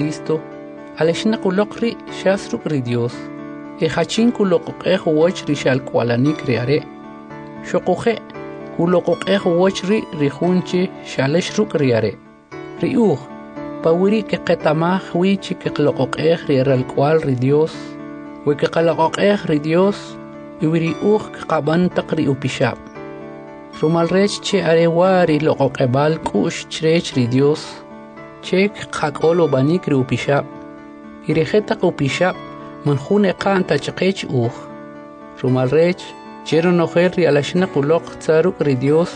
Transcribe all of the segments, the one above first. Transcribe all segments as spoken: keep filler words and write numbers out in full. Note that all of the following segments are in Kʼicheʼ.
Cristo, alaxinaq uloq ri' xas ruk' ri Dyos, e jachin kuloq'oq'ej uwach ri xalk'uwa'lanik ri are', xoquje' kuloq'oq'ej uwach ri' ri jun che xalax ruk' ri are'. Ri uj, pa weri' kqeta'maj wi che kqaloq'oq'ej ri eralk'uwa'l ri Dyos, we kqaloq'oq'ej ri Dyos e we ri uj kqab'an taq ri upixab'. Rumal rech che are wa' ri loq'oq'eb'al k'u'x chrech ri Dyos, che kqak'ol ub'anik ri upixab', y ri jetaq upixab' man jun eqa'n ta chqech uj. Rumal rech, che ronojel ri alaxinaq uloq tza ruk' ri Dyos,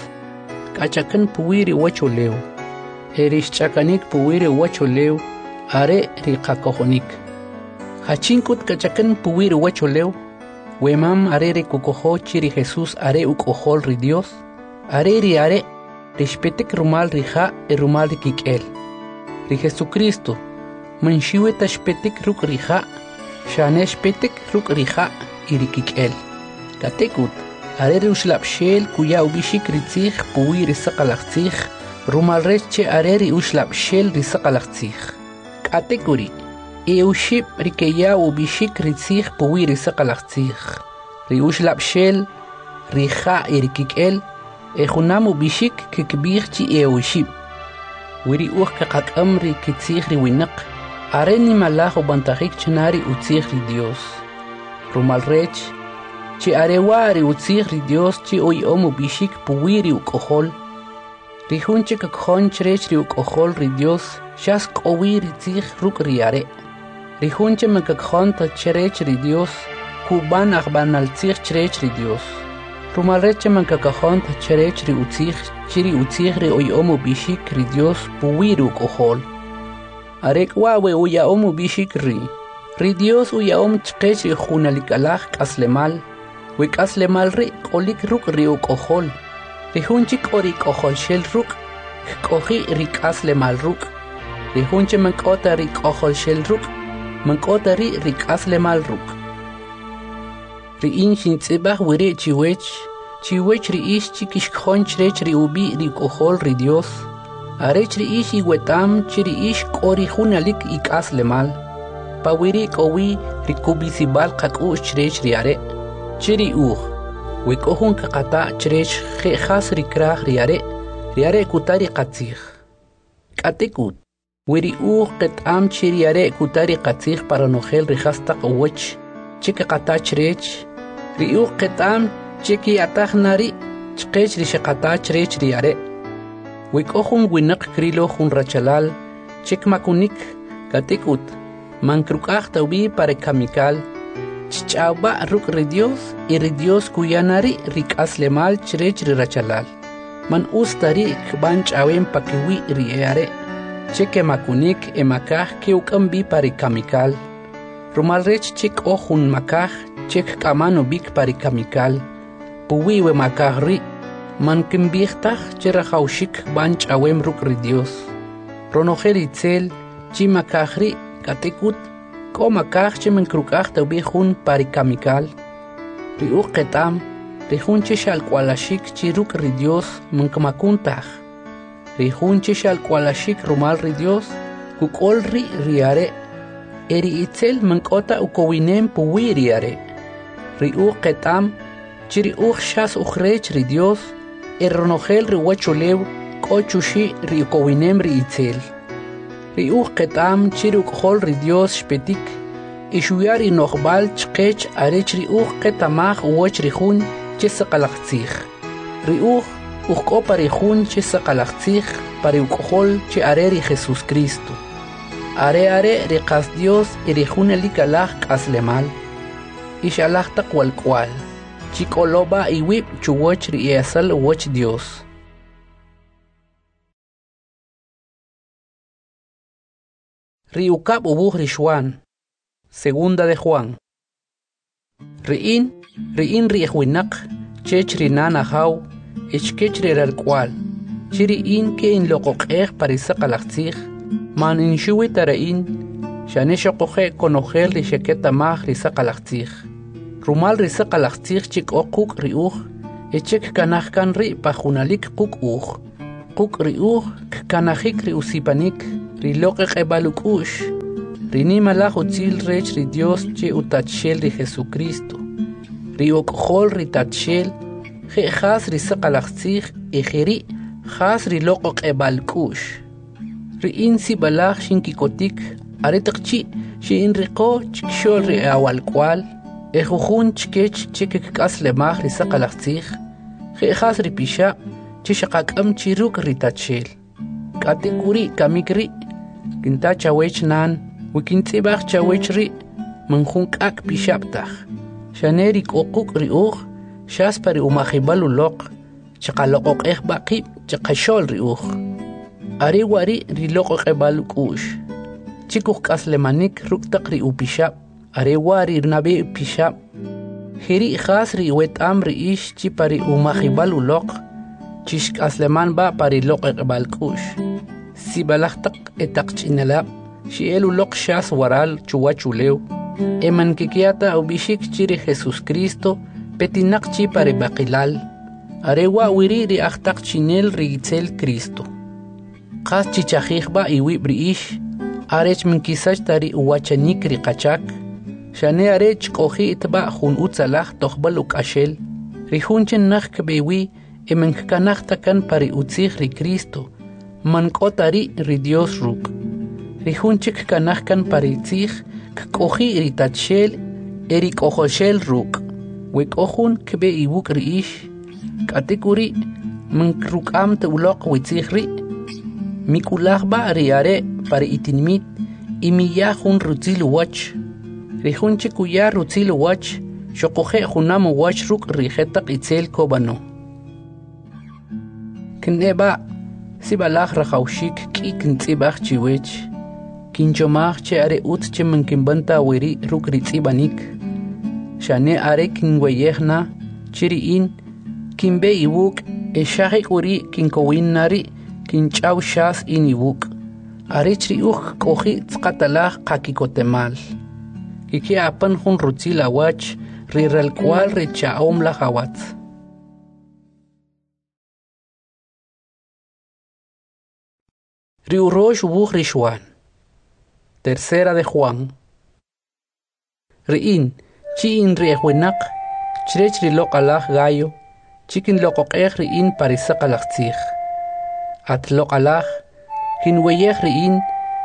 kach'akan puwi' ri uwachulew, e ri xch'akanik puwi' ri uwachulew are ri qakojonik. Jachin k'ut kach'akan puwi' ri uwachulew, we man are ri kukojo che ri Jesus are Uk'ojol ri Dyos? Are ri are' ri xpetik rumal ri ja' e rumal ri kik'el. Ri Jesucristo man xuwi ta xpetik ruk' ri ja', xane xpetik ruk' ri ja' y ri kik'el. K'atek'ut, are ri Uxlab'xel kuya ub'ixik ri tzij puwi' ri saqalaj tzij, rumal rech che are ri Uxlab'xel ri saqalaj tzij. K'atek'uri', e oxib' ri keya ub'ixik ri tzij puwi' ri saqalaj tzij: ri Uxlab'xel, ri ja' e ri kik'el, e junam ub'ixik kkib'ij chi e oxib'. We ri uj kaqak'am ri kitzij ri winaq, are nimalaj ub'antajik china ri utzij ri Dyos. Rumal rech, che are wa' ri utzij ri Dyos che uya'om ub'ixik puwi' ri Uk'ojol. Ri jun che kakojon chrech ri Uk'ojol ri Dyos xas k'o wi ri tzij ruk' ri are'. Ri jun che man kakojon ta chrech ri Dyos, kub'an ajb'anal tzij chrech ri Dyos. Rumal rech che man kakojon ta chrech ri utzij che ri utzij ri uya'om ub'ixik ri Dyos puwi' ri Uk'ojol. Are k'u wa' we uya'om ub'ixik ri': ri Dyos uya'om chqech ri junalikalaj k'aslemal, we k'aslemal ri' k'olik ruk' ri Uk'ojol. Ri jun che k'o ri K'ojolxel ruk', kk'oji' ri k'aslemal ruk'. Ri jun che man k'o ta ri K'ojolxel ruk', man k'o ta ri' ri k'aslemal ruk'. Ri in xintz'ib'aj weri' chiwech, chiwech ri ix che kixkojon chrech ri ub'i' ri Uk'ojol ri Dyos, arech ri ix iweta'm che ri ix k'o ri junalik ik'aslemal. Pa weri' k'o wi ri kub'isib'al qak'u'x chrech ri Are', che ri uj, we k'o jun kaqata' chrech je' jas ri kraj ri Are', ri Are' kuta ri qatzij. K'atek'ut, we ri uj qeta'm che ri Are' kuta ri qatzij pa ronojel ri jastaq uwach che kaqata chrech, ri uj qeta'm che kya'taj na ri' chqech ri xeqata chrech ri Are'. We k'o jun winaq krilo jun rachalal che kmakunik, k'atek'ut, man kruk'aj ta ub'i pa ri kamikal, chch'aw b'a' ruk' ri Dyos e ri Dyos kuya na ri' ri k'aslemal chrech ri rachalal. Man utz ta ri' kb'an ch'awem pakiwi' ri e'are' che kemakunik e makaj ke'uk'am b'i pa ri kamikal. Rumal rech che k'o jun makaj che kk'aman ub'ik pa ri kamikal. Puwi' we makaj ri', man kinb'ij taj che rajawxik kb'an ch'awem ruk' ri Dyos. Ronojel itzel chi makaj ri', k'atek'ut, k'o makaj che man kruk'aj ta ub'i jun pa ri kamikal. Ri uj qeta'm, ri jun che xalk'uwalaxik chi ruk' ri Dyos man kmakun taj. Ri jun che xalk'uwalaxik rumal ri Dyos, kuk'ol ri' ri are', e ri itzel man k'o ta ukowinem puwi' ri are'. Ri uj qeta'm che ri uj xas uj rech ri Dyos, e ronojel ri uwachulew k'o chuxi' ri ukowinem ri itzel. Ri uj qeta'm che ri Uk'ojol ri Dyos xpetik e xuya ri no'jb'al chqech arech ri uj qeta'maj uwach ri jun che saqalaj tzij. Ri uj, uj k'o pa ri jun che saqalaj tzij, pa ri Uk'ojol che are ri Jesucristo. Are are' ri qas Dyos e ri junalikalaj k'aslemal. Ix alaj taq walk'uwa'l, chik'olo b'a' iwib' chuwach ri e'esal uwach Dyos. Ri ukab' uwuj ri Xwan, Segunda de Juan. Ri in, ri in ri'j winaq, chech ri nan ajaw e chkech ri ralk'uwa'l, che ri in ke'inloq'oq'ej pa ri saqalaj tzij, man in xuwi ta ri in, xane xoquje' konojel ri xeketa'maj ri saqalaj tzij. Rumal ri saqalaj tzij che k'o quk' ri uj, e che kkanaj kan ri' pa junalik quk' uj. Quk' ri uj kkanajik ri usipanik, ri loq'oq'eb'al uk'u'x, ri nimalaj utzil rech ri Dios che Utatxel ri Jesucristo, ri Uk'ojol ri Tatxel, je' jas ri saqalaj tzij e jeri' jas ri loq'oq'eb'al k'u'x. Ri in sib'alaj xinkikotik aretaq chi' xe'inriqo chkixo'l ri e'awalk'uwa'l, ejujun chkech che kkik'aslemaj ri saqalaj tzij, je' jas ri pixab' che xaqak'am chi ruk' ri Tatxel. K'atek'uri' kamik ri', kinta chawech nan, we kintz'ib'aj chawech ri' man jun k'ak' pixab' taj, xane ri k'o quk' ri uj, xas pa ri umajib'al uloq, chaqaloq'oq'ej b'a' qib' chaqaxo'l ri uj. Are wa' ri' ri loq'oq'eb'al uk'u'x, che kujk'aslemanik ruk' taq ri upixab', are wa' ri nab'e pixab'. Jeri' jas ri iweta'm ri ix chi pa ri umajib'al uloq, chixk'asleman b'a' pa ri loq'oq'eb'al k'u'x. Sib'alaj taq etaqch'inelab' xe'el uloq xas waral chuwach ulew, e man kkiya ta ub'ixik che ri Jesucristo petinaq chi pa ri b'aqilal. Are wa' weri' ri ajtaqchi'nel ri itzel Cristo. Qas chichajij b'a' iwib' ri ix, arech man kisach ta ri uwachanik ri qachak, xane are chk'oji' b'a' jun utzalaj tojb'al uk'axel. Ri jun che naj kb'e wi e man kkanaj ta kan pa ri utzij ri Cristo, man k'o ta ri' ri Dios ruk'. Ri jun che kkanaj kan pa ri tzij, kk'oji' ri Tatxel e ri K'ojolxel ruk'. We k'o jun kb'e iwuk' ri ix, k'atek'uri' man ruk'am ta uloq we tzij ri', mik'ulaj b'a' ri are' pa ri itinimit y miya jun rutzil uwach. Ri jun che kuya rutzil uwach, xoquje' junam uwach ruk' ri jetaq itzel kub'ano. Kne'b'a' sib'alaj rajawxik k'i kintz'ib'aj chiwech, kinchomaj che are utz che man kinb'an ta weri' ruk' ri tz'ib'anik, xane are kinweyej na che ri in kinb'e iwuk' e xa jek'uri' kinkowin na ri' kinch'aw xas in iwuk', arech ri uj kk'oji' tz'aqatalaj qaki'kotemal. Kkiya apan jun rutzil awach ri ralk'uwa'l ri cha'om laj awatz. Ri urox uwuj ri Xwan. Tercera de Juan. Ri in, chi in ri ejwinaq, chrech ri loq'alaj Gayo, chi kinloq'oq'ej ri in pa ri saqalaj tzij. At loq'alaj, kinweyej ri in,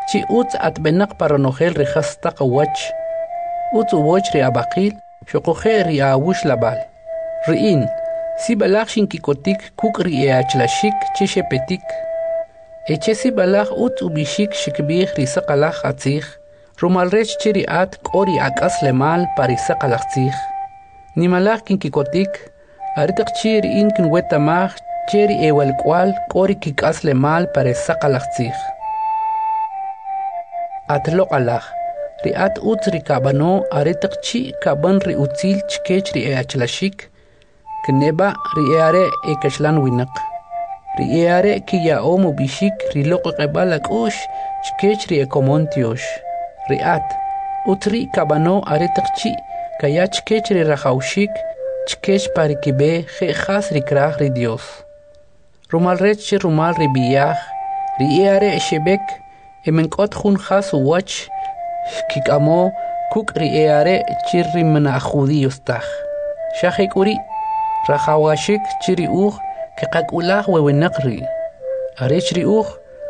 chi utz atb'enaq pa ronojel ri jastaq uwach, utz uwach ri ab'aqil, xoquje' ri awuxlab'al. Ri in, sib'alaj xinkikotik kuk' ri e'achlaxik che xepetik, e che sib'alaj utz ub'ixik xkib'ij ri saqalaj atzij, rumal rech che ri at k'o ri ak'aslemal pa ri saqalaj tzij. Nimalaj kinkikotik, aretaq chi' ri in kinweta'maj che ri ewalk'uwa'l k'o ri kik'aslemal pa ri saqalaj tzij. At loq'alaj, ri at utz ri kab'ano aretaq chi' kab'an ri utzil chkech ri e'achlaxik, kne'b'a' ri e'are' ekaxlan winaq. Ri e'are' kiya'om ub'ixik ri loq'oq'eb'al ak'u'x chkech ri ekomon tyox. Ri at, utz ri' kab'ano aretaq chi' kaya chkech ri rajawxik chkech pa ri kib'e je' jas ri kraj ri Dios. Rumal rech che rumal ri b'i'aj, ri e'are' xeb'ek e man k'o ta jun jas uwach xkik'amo kuk' ri e'are' che ri man aj judíos taj. Xa jek'uri', rajawaxik che ri uj keqak'ulaj we winaq ri', arech ri uj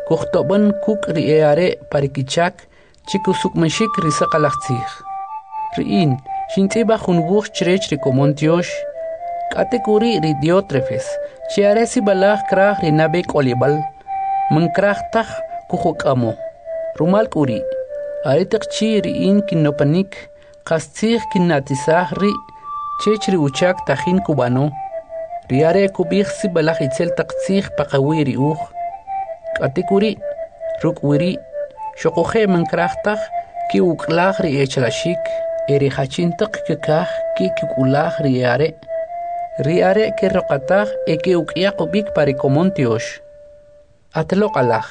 kujtob'an kuk' ri e'are' pa ri kichak che kusuk'umaxik ri saqalaj tzij. Ri in xintz'ib'aj jun wuj chrech ri komon tyox, k'atek'uri' ri Diótrefes, che are sib'alaj kraj ri nab'e k'olib'al, man kraj taj kujuk'amo. Rumal k'uri', aretaq chi' ri in kinopanik, qastzij kinna'tisaj ri' chech ri uchak tajin kub'ano. Ri are' kub'ij sib'alaj itzel taq tzij paqawi' ri uj. K'atek'uri', ruk' weri', xoquje' man kraj taj ke'uk'ulaj ri e'achalaxik e ri jachintaq kkaj ke'kik'ulaj ri e'are'. Ri are' keroqataj e ke'uk'yaq ub'ik pa ri komon tyox. At loq'alaj,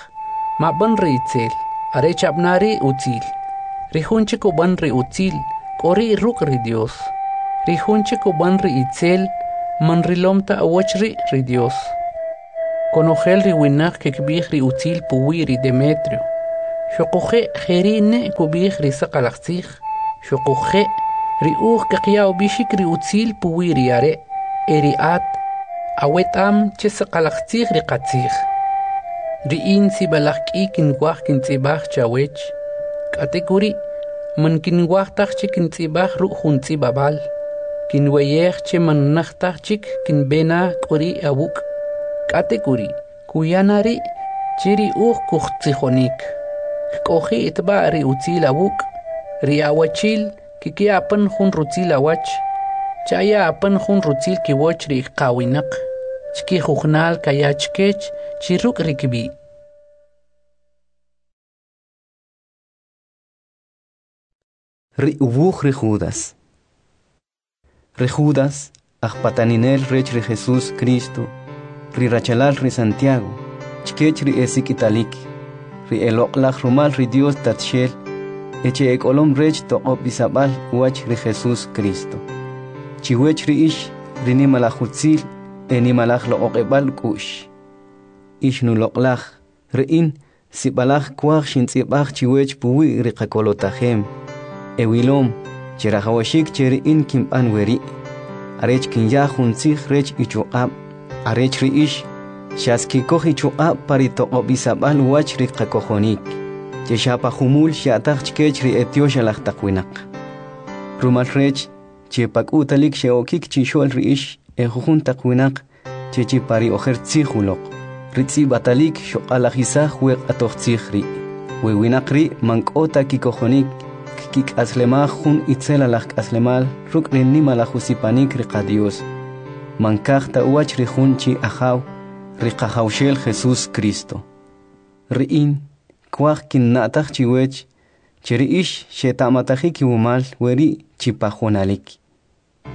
mab'an ri itzel, are chab'ana ri utzil. Ri jun che kub'an ri utzil, k'o ri' ruk' ri Dios. Ri jun che kub'an ri itzel, man rilom ta uwach ri' ri Dios. Konojel ri winaq kkib'ij ri utzil puwi' ri Demetrio, Xuquje' jeri' ne kub'ij ri saqalaj tzij, xuquje' ri uj kaqaya ub'ixik ri utzil puwi ri are', e ri at aweta'm che saqalaj tzij ri qatzij. Ri in sib'alaj k'i kinwaj kintz'ib'aj chawech, k'atek'uri' man kinwaj taj che kintz'ib'aj ruk' jun tz'ib'ab'al. Kinweyej che man naj taj chik kinb'e na k'uri' awuk', k'atek'uri' kuya na ri' che ri uj kujtzijonik. Kk'oji' b'a' ri utzil awuk', ri awachi'l kkiya apan jun rutzil awach. Chaya apan jun rutzil kiwach ri qawinaq, chkijujunal kaya chkech chi ruk' ri kib'i'. Ri uwuj ri Judas. Ri Judas, ajpataninel rech ri Jesús Cristo, ri rachalal ri Santiago, chkech ri esik'italik, ri eloq'laj rumal ri Dios Tatxel, e che ek'olom rech toq'ob'isab'al uwach ri Jesús Cristo. Chiwech ri ix, ri nimalaj utzil e nimalaj loq'oq'eb'al k'u'x. Ix nuloq'laj, ri in, sib'alaj kwaj xintz'ib'aj chiwech puwi' ri qakolotajem. E wilom, che rajawaxik che ri in kinb'an weri', arech kinya jun tzij rech ichuq'ab', arech ri ix, xas kikoj ichuq'ab' pa ri toq'ob'isab'al uwach ri qakojonik, che xa pa jumul xya'taj chkech ri etyoxalaj taq winaq. Rumal rech, che pak'utalik xe'okik chixo'l ri ix e jujun taq winaq che chi pa ri ojer tzij uloq, ri tz'ib'atalik xuq'alajisaj we q'atoj tzij ri'. We winaq ri' man k'o ta kikojonik, kik'aslemaj jun itzelalaj k'aslemal ruk' ri nimalaj usipanik ri qaDios. Man kaj ta uwach ri jun chi Ajaw, ri Qajawxel Jesús Cristo. Ri in, kwaj kinna'taj chiwech, che ri ix xeta'matajik iwumal weri' chi pa junalik.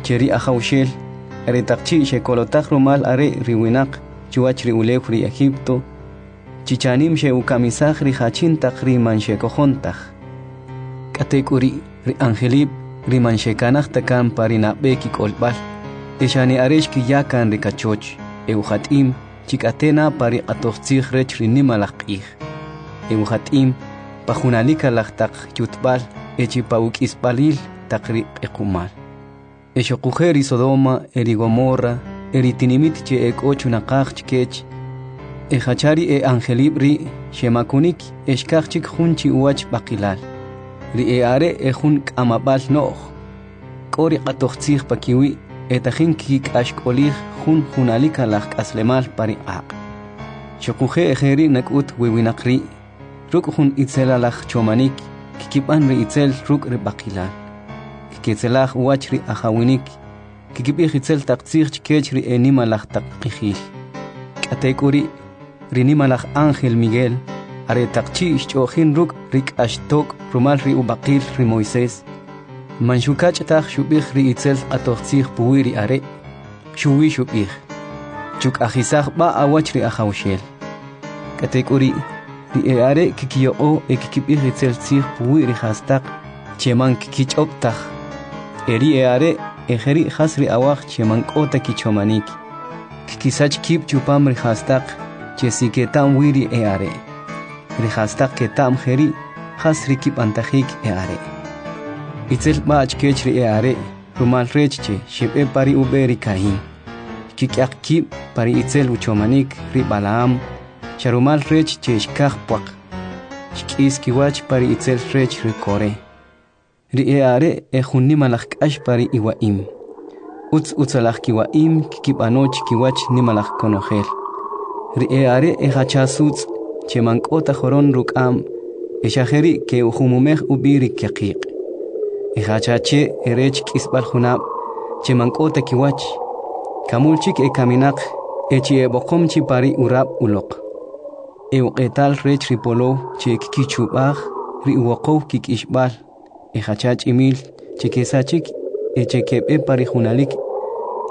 Che ri Ajawxel, aretaq chi' xekolotaj rumal are' ri winaq chuwach ri ulew ri Egipto, chichanim xe'ukamisaj ri jachin taq ri man xekojon taj. K'atek'uri' ri angelib' ri man xekanaj ta kan pa ri nab'e kik'olb'al, e xane are xkiya kan ri kachoch, e ujat'im chik'atena pa ri q'atoj tzij rech ri nimalaj q'ij. E ujat'im pa junalik alaj taq yutb'al e chi pa uk'isb'alil taq ri q'equmal. E xuquje' ri Sodoma e ri Gomorra e ri tinimit che ek'o chunaqaj chkech, e jacha ri e angelib' ri' xemakunik e xkaj chik jun chi uwach b'aqilal. Ri e are' e jun k'amab'al no'j, k'o ri q'atoj tzij pa kiwi' e tajin kik'axk'olij jun junalik alaj k'aslemal pa ri q'aq'. Xuquje' jeri' nak'ut we winaq ri', ruk' jun itzelalaj chomanik, kikib'an ri itzel ruk' ri b'aqilal. Kiketzelaj uwach ri ajawinik, kikib'ij itzel taq tzij chkech ri e nimalaj taq q'ijil. K'atek'uri', ri nimalaj ángel Miguel, are taq chi' xch'o'jin ruk' ri k'axtok' rumal ri ub'aqil ri Moisés, man xukach' taj xub'ij ri itzel q'atoj tzij puwi' ri are', xuwi xub'ij, chuk'ajisaj b'a' awach ri Ajawxel. K'atek'uri', ri e are' kikiyoq'o e kikib'ij itzel tzij puwi' ri jastaq che man kikich'ob' taj. E ri e are' e jeri' jas ri awaj che man k'o ta kichomanik, kikisach kib' chupam ri jastaq che si keta'm wi ri e are'. Ri jastaq keta'm jeri' jas ri kib'antajik e are'. Itzel b'a' chkech ri e are' rumal rech che xeb'e pa ri ub'e ri Caín. Kik'yaq kib' pa ri itzel uchomanik ri Balaam, xa rumal rech che xkaj pwaq. Xk'is kiwach pa ri itzel rech ri Coré. Ri e are' e jun nimalaj k'ax pa ri iwa'im. Utz utzalaj kiwa'im kikib'ano chkiwach nimalaj konojel. Ri e are' e jacha sutz' che man k'o ta joron ruk'am, e xa jeri' ke'ujumumej ub'i ri kyaqiq'. E jacha che e rech k'isb'al junab' che man k'o ta kiwach, kamul chik e kaminaq e chi eb'oqom chi pa ri urab' uloq. E uq'etal rech ri polow che kkichub'aj ri uwoqow kik'ixb'al, e jacha ch'imil che kesachik e che keb'e pa ri junalik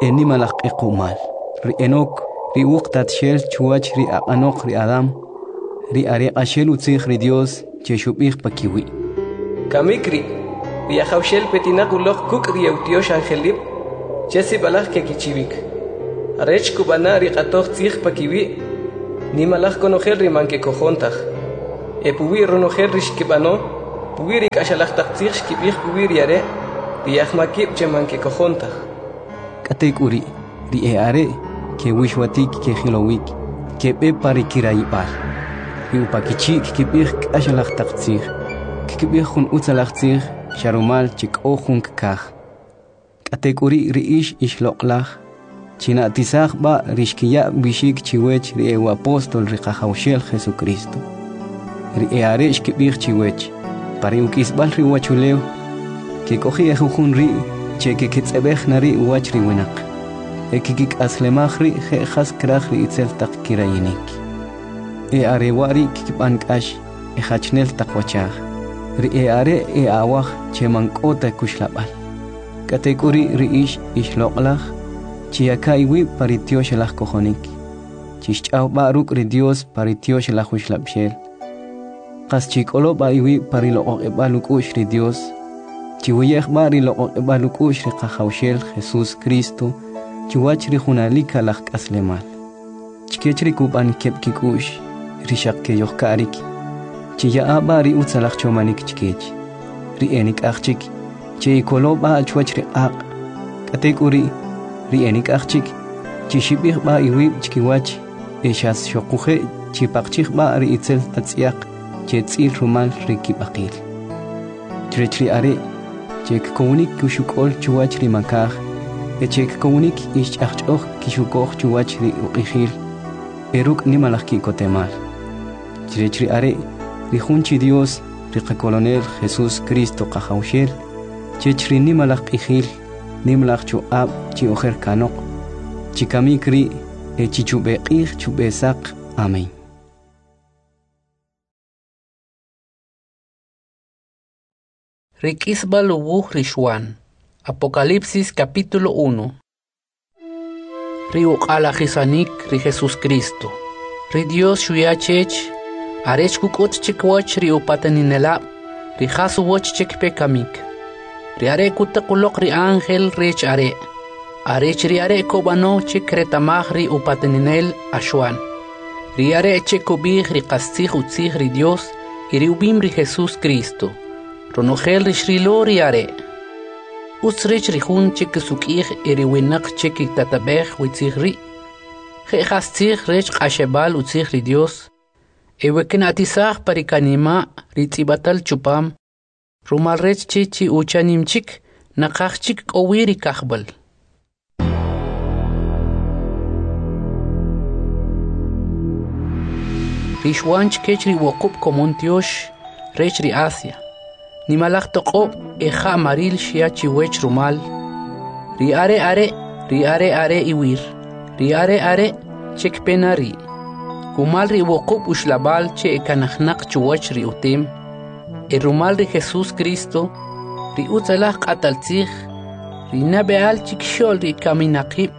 e nimalaj q'equmal. Ri Enoc, ri uwuq tatxel chuwach ri aq'anoq ri Adam, ri are q'axel utzij ri Dios che xub'ij pa kiwi'. Kamik ri', ri Ajawxel petinaq uloq kuk' ri eutyox angelib' che sib'alaj kekichiwik. Arech kub'ana' ri q'atoj tzij pa kiwi', nimalaj konojel ri man kekojon taj. e puwi' ronojel ri xkib'ano, puwi' ri k'axalaj taq tzij xkib'ij puwi' ri are', ri e'ajmakib' che man kekojon taj. K'atek'uri', ri e'are' kewixwatik kejilowik, keb'e pa ri kirayib'al. Ri upakichi' kkib'ij k'axalaj taq tzij, kkib'ij jun utzalaj tzij xa rumal che k'o jun kkaj. K'atek'uri' ri ix, ix loq'alaj, china'tisaj b'a' ri xkiya ub'ixik chiwech ri e'u'apostol ri Qajawxel Jesucristo. Ri e'are' xkib'ij chiwech: Pa ri uk'isb'al ri uwachulew, kek'oji' ejujun ri' che keketz'eb'ej na ri' uwach ri winaq, e kkik'aslemaj ri' je' jas kraj ri itzel taq kirayinik. E'are wa' ri kkib'an k'ax, ejachnel taq wachaj, ri e'are' e'awaj che man k'o ta kuxlab'al. K'atek'uri' ri ix, ix loq'alaj, chiyaka' iwib' pa ri tyoxalaj kojonik, chixch'aw b'a' ruk' ri Dios pa ri tyoxalaj uxlab'xel. Qas chik'olo b'a iwib' pa ri loq'oq'eb'al uk'u'x ri Dios, chiweyej b'a ri loq'oq'eb'al uk'u'x ri Qajawxel Jesus Cristo chuwach ri junalik alaj k'aslemal. Chkech ri kub'an keb' kik'u'x, ri xaq keyojka'rik, chiya'a b'a ri utzalaj chomanik chkech, ri enik'aj chik, che'ikolo b'a chuwach ri q'aq'. K'atek'uri', ri enik'aj chik, chixib'ij b'a iwib' chkiwach, e xas xoquje' chipaqchij b'a ri itzel atz'yaq che tz'il rumal ri kib'aqil. Chrech ri are' che kkowinik kuxuk'ol chuwach ri makaj, e che kkowinik ix ch'ajch'oj kixukoj chuwach ri uq'ijil, e ruk' nimalaj ki'kotemal. Chrech ri are' ri jun chi Dios, ri qakolonel Jesus Cristo Qajawxel, chech ri nimalaj q'ijil, nimalaj chuq'ab' chi ojer kanoq, chikamik ri' e chichub'e q'ij chub'e saq. Amén. Ri k'isb'al uwuj ri Xwan. Apocalipsis capítulo uno. Ri uq'alajisanik ri Jesus Cristo. Ri Dios xuya chech, arech kuk'ut chikwach ri upataninelab', ri jas uwach che kpe kamik. Ri are' kutaq uloq ri ángel rech are', arech ri are' kub'ano che kretamaj ri upataninel Axwan. Ri are' che kub'ij ri qastzij utzij ri Dios y ri ub'im ri Jesus Cristo. Ronojel ri xrilo ri are'. Utz rech ri jun che kusuk'ij e ri winaq che kitatab'ej witzij ri'. Je' jas tzij rech q'axeb'al utzij ri Dios, e we kina'tisaj pa ri kanima' ri tz'ib'atal chupam, rumal rech che chi uchanim chik, naqaj chik k'o wi ri kajb'al. Ri Xwan chkech ri wuqub' komon tyox rech ri Asia. Nimalaj toq'ob' e ja'maril xya chiwech rumal. Ri are' are', ri are' are' iwir, ri are' are' che kpe na ri'. Kumal ri wuqub' uxlab'al che ekanajnaq chuwach ri utem, e rumal ri Jesus Cristo, ri utzalaj q'atal tzij, ri nab'e'al chikxo'l ri kaminaqib',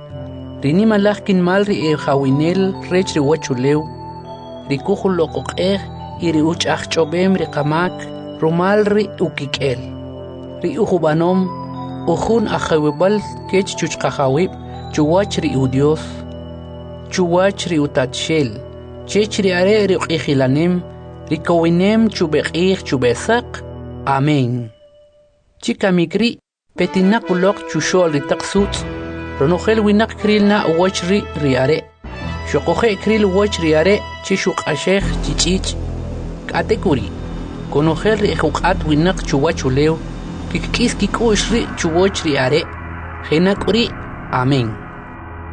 ri nimalaj kinmal ri ejawinel rech ri uwachulew, ri kujuloq'oq'ej y ri uch'ajch'ob'em ri qamak rumal ri ukik'el. Ri ujub'anom ujun ajawib'al kech chuchqajawib' chuwach ri Udios, chuwach ri utatxel, chech ri are' ri uq'ijilanem, ri kowinem chub'e q'ij chub'e saq. Amén. Chikamik ri' petinaq uloq chuxo'l ri taq sutz', ronojel winaq kril na uwach ri ri are', xoquje' kril uwach ri are' che xuq'axej chich'ich'. K'atek'uri', konojel ri ejuq'at winaq chuwach ulew, kkik'is kik'u'x ri' chuwach ri are'. Jenak'uri'. Amén.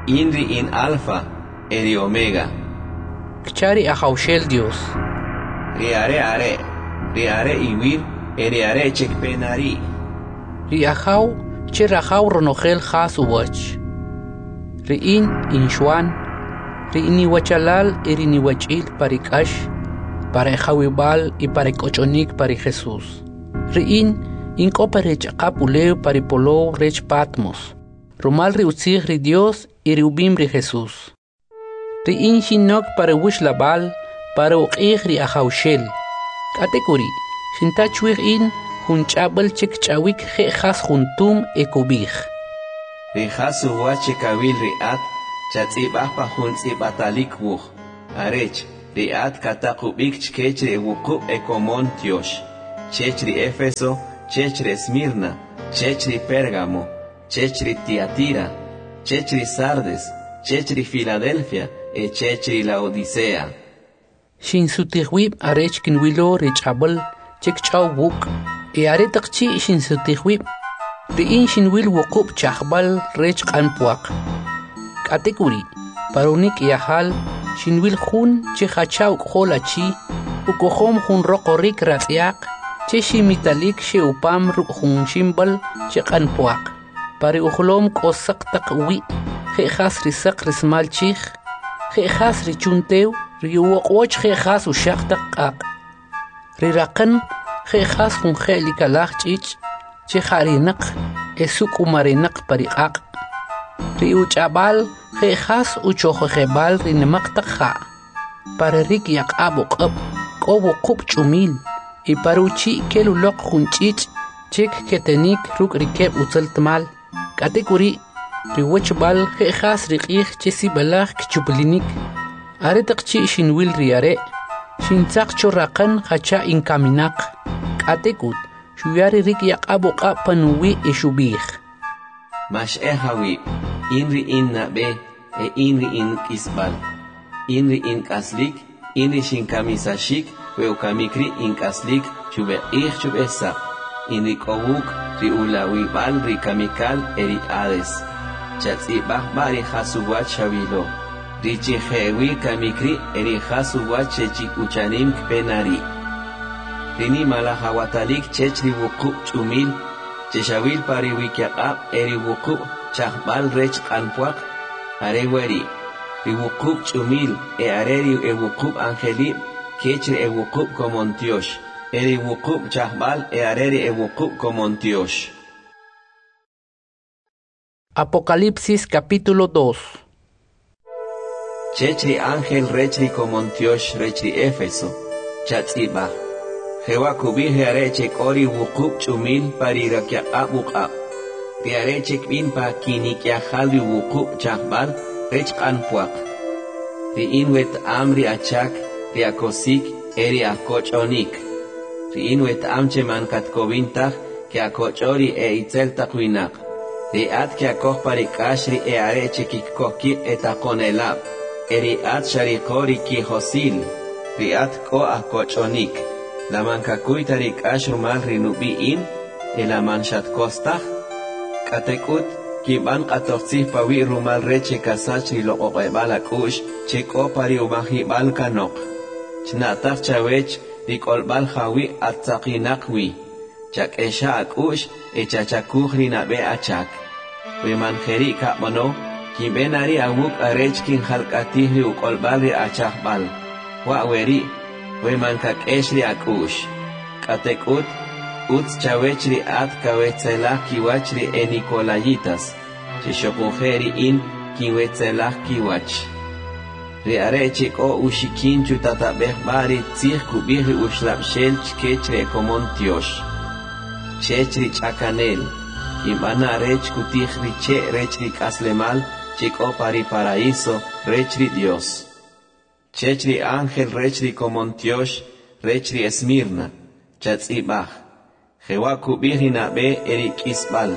In ri in Alfa e ri Omega. Kcha ri Ajawxel Dios. Ri are' are', ri are' iwir e ri are' che kpe na ri'. Ri Ajaw che rajaw ronojel jas uwach. Ri in, in Xwan, ri iniwachalal e ri niwach'il pa ri k'ax, pa ri ajawib'al y pa ri k'och'onik pa ri Jesus. Ri in, in k'o pa ri ch'aqap ulew pa ri polow rech Patmos, rumal ri utzij ri Dios y ri ub'im ri Jesus. Ri in xinok pa ri wuxlab'al, pa ri uq'ij ri Ajawxel. K'atek'uri', xinta chwij in jun ch'ab'al che kch'awik je' jas jun tum e kub'ij. Ri jas uwach che kawil ri at, chatz'ib'aj pa jun tz'ib'atalik wuj, arech Ri at kataq ub'ik chkech ri ewuqub' ekomon tyox: chech ri Efeso, chech ri Esmirna, chech ri Pergamo, chech ri Ti'atira, chech ri Sardes, chech ri Filadelfia e chech ri La'odise'a. Xinsutij wib' arech kinwilo ri ch'ab'al che kch'aw wuk', e aretaq chi' xinsutij wib', ri in xinwil wuqub' chajb'al rech q'an pwaq. K'atek'uri', pa unik'yajal xinwil jun che jacha uk'ojol achi, ukojom jun roqorik ratz'yaq che ximitalik xe'upam ruk' jun ximb'al che q'an pwaq. Pa ri ujolom k'o saq taq uwi' je' jas ri saq rismal chij, je' jas ri chun tew, ri uwoq'och je' jas uxaq taq q'aq', ri raqan je' jas jun je'likalaj ch'ich' che ja'rinaq e suk'umarinaq pa ri q'aq', ri uch'ab'al je' jas uchojojeb'al ri nimaq taq ja'. Pa ri rikyaq'ab' uq'ab' k'o wuqub' ch'umil, e pa ri uchi' kel uloq jun ch'ich' che kketenik ruk' ri keb' utzaltmal. K'atek'uri', ri uwachb'al je' jas ri q'ij che sib'alaj kchuplinik. Aretaq chi' xinwil ri are', xintzaq cho raqan jacha inkaminaq. K'atek'ut, xuya ri rikyaq'ab' uq'ab' panuwi' e xub'ij: Max'ej awib', in ri in nab'e e in ri in k'isb'al. In ri in k'aslik, in ri xinkamisaxik we ukamik ri' in k'aslik chub'eq'ij chub'esaq. In ri k'o wuk' ri ulawib'al ri kamikal e ri Hades. Chatz'ib'aj b'a' ri jas uwach xawilo, ri chi je'wi kamik ri' e ri jas uwach che chi uchanim kpe na ri'. Ri nimalaj awatalik chech ri wuqub' ch'umil che xawil pa ri wikyaq'ab' e ri wuqub' chajb'al rech q'an pwaq, are weri': ri wuqub' ch'umil e are ri ewuqub' anjelib' kech ri ewuqub' komon tyox, e ri wuqub' chajb'al e are ri ewuqub' komon tyox. Apocalipsis capítulo dos. Chech ri ángel rech ri komon tyox rech ri Éfeso, chatz'ib'aj. Jewa kub'ij ri are' che k'o ri wuqub' ch'umil pa ri rakyaq'ab' uq'ab'. Ri are' che kb'in pa kinik'yajal ri wuqub' chajb'al rech q'an pwaq. Ri in weta'am ri achak, ri akosik e ri akoch'onik. Ri in weta'am che man katkowin taj ke'akoch'o ri e itzel taq winaq. Ri at ke'akoj pa ri k'ax ri e are' che kikoj kib' etaqonelab', e ri at xariqo ri kijosil. Ri at k'o akoch'onik. La man kakuy ta ri k'ax rumal ri nub'i' in, e la man xatkos taj. K'atek'ut, kinb'an q'atojtzij pawi' rumal rech che kasach ri loq'oq'eb'al ak'u'x che k'o pa ri umajib'al kanoq. Chna'taj chawech ri k'olb'al jawi' attzaqinaq wi. Chak'exa ak'u'x e chachakuj ri nab'e achak. We man jeri' kab'ano, kinb'e na ri' awuk' arech kinjalk'atij ri uk'olb'al ri achajb'al. Wa' weri', we man kak'ex ri ak'u'x. K'atek'ut, utz chawech ri at kawetzelaj kiwach ri enikolayitas, che xuquje' ri in kinwetzelaj kiwach. Ri are' che k'o uxikin chutatab'ej b'a' ri tzij kub'ij ri uxlab'xel chkech ri ekomon tyox. Chech ri ch'akanel, kinb'ana rech kutij ri che' rech ri k'aslemal che k'o pa ri paraíso rech ri Dios. Chech ri ángel rech ri komon tyox rech ri Esmirna, chatz'ib'aj. Jewa kub'ij ri nab'e e ri k'isb'al,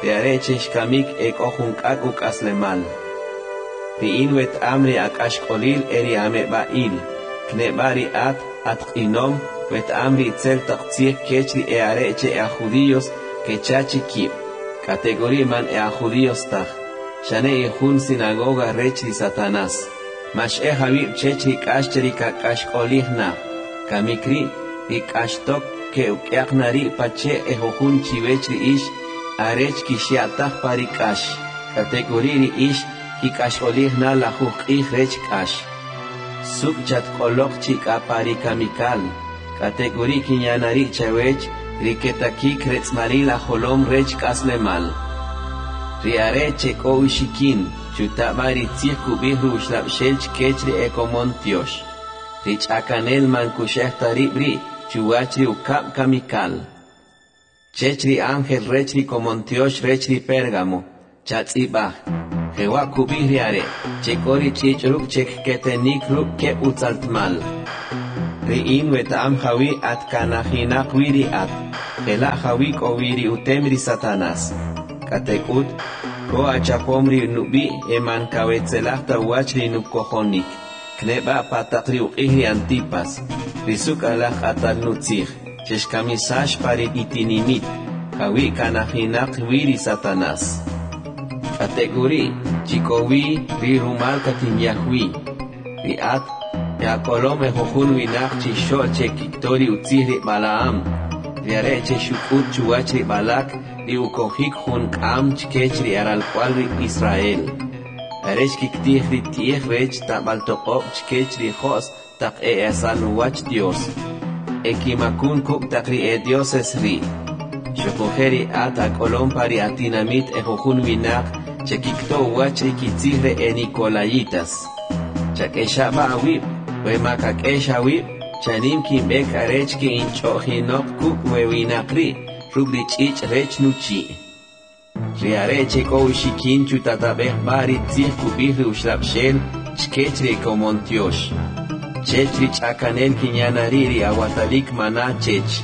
ri are' che xkamik e k'o jun k'ak' uk'aslemal. Ri in weta'am ri ak'axk'olil e ri ameb'a'il, kneb'a' ri at atq'inom weta'am ri itzel taq tzij kech ri e are' che e aj judíos kecha chi kib', k'atek'uri' man e aj judíos taj, xane ijun sinagoga rech ri Satanás. Max'ej awib' chech ri k'ax che ri kak'axk'olij na. Kamik ri', ri k'axtok ke'uk'yaq na ri' pache' e jujun chiwech ri ix, arech kixya'taj pa ri k'ax. K'atek'uri' ri ix kik'axk'olij na lajuj q'ij rech k'ax. Suk' chatk'oloq chi k'a pa ri kamikal. K'atek'uri' kinya na ri' chawech ri ketakik retz'malil ajolom rech k'aslemal. Ri are' che k'o uxikin, chutab'a ri tzij kub'ij ri uxlab'xel chkech ri ekomon tyox. Ri ch'akanel man kuxej ta rib' ri' chuwach ri ukab' kamikal. Chech ri ángel rech ri komon tyox rech ri Pérgamo, chatz'ib'aj. Jewa' kub'ij ri are', che k'o ri ch'ich' ruk' che kketenik ruk' keb' utzaltmal. Ri in weta'am jawi' at kanajinaq wi ri at, jela' jawi' k'o wi ri utem ri Satanas. K'atek'ut, ko achapom ri nub'i' e man kawetzelaj ta uwach ri nukojonik, kneb'a' pa taq ri uq'ij ri Antipas, ri suk'alaj q'atal nutzij, che xkamisax pa ri itinimit, jawi' kanajinaq wi ri Satanas. K'atek'uri', chi k'o wi ri rumal katinyaj wi. Ri at, e'akolom ejujun winaq chixo'l che kikto ri utzij ri Balaam, ri are' che xuk'ut chuwach ri Balak ri ukojik jun k'am chkech ri eralk'uwa'l ri Israel, arech kiktij ri ti'ij rech tab'al toq'ob' chkech ri jo's taq e'esal uwach Dyos, e kimakun kuk' taq ri edyoses ri'. Xoquje' ri at ak'olom pa ri atinamit ejujun winaq che kikto uwach ri kitzij ri enikolayitas. Chak'exa' b'a' awib', we ma kak'ex awib', chanim kinb'ek arech ke'inch'o'jinoq kuk' we winaq ri' ruk' ri ch'ich' rech nuchi'. Ri are' che k'o uxikin chutatab'ej b'a' ri tzij kub'ij ri Uxlab'xel chkech ri ekomon tyox. Chech ri ch'akanel kinya na ri' ri awatalik mana chech,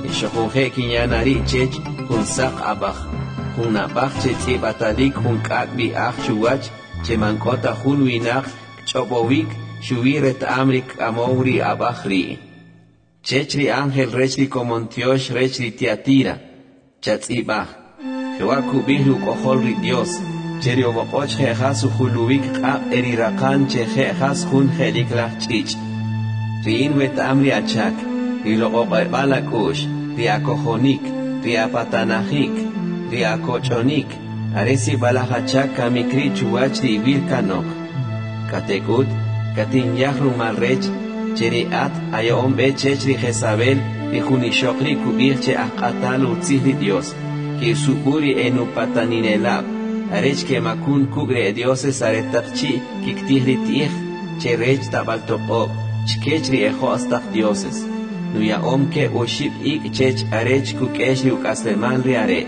e xoquje' kinya na ri' chech jun saq ab'aj, jun ab'aj che tz'ib'atalik jun k'ak' b'i'aj chuwach che man k'o ta jun winaq kch'ob'owik xuwi reta'am ri kk'amow ri ab'aj ri'. Chech ri ángel rech ri komon tyox rech ri Tiatira, chatz'ib'aj. Jewa' kub'ij ri uk'ojol ri Dios, che ri uwoq'och je' jas ujuluwik q'aq' e ri raqan che je' jas jun je'liklaj ch'ich'. Ri in weta'am ri achak, ri loq'oq'eb'al ak'u'x, ri akojonik, ri apatanajik, ri akoch'onik, are sib'alaj achak kamik ri' chuwach ri iwir kanoq. K'atek'ut, katinyaj rumal rech, che ri at aya'om b'e chech ri Jezabel, ri jun ixoq ri' kub'ij che ajq'atal utzij ri Dios, ke'usub'u ri enupataninelab', arech kemakun kuk' ri edioses aretaq chi' kiktij ri ti'ij che rech tab'al toq'ob' chkech ri ejo's taq dioses. Nuya'om keb' oxib' ik' chech arech kuk'ex ri uk'aslemal ri are'.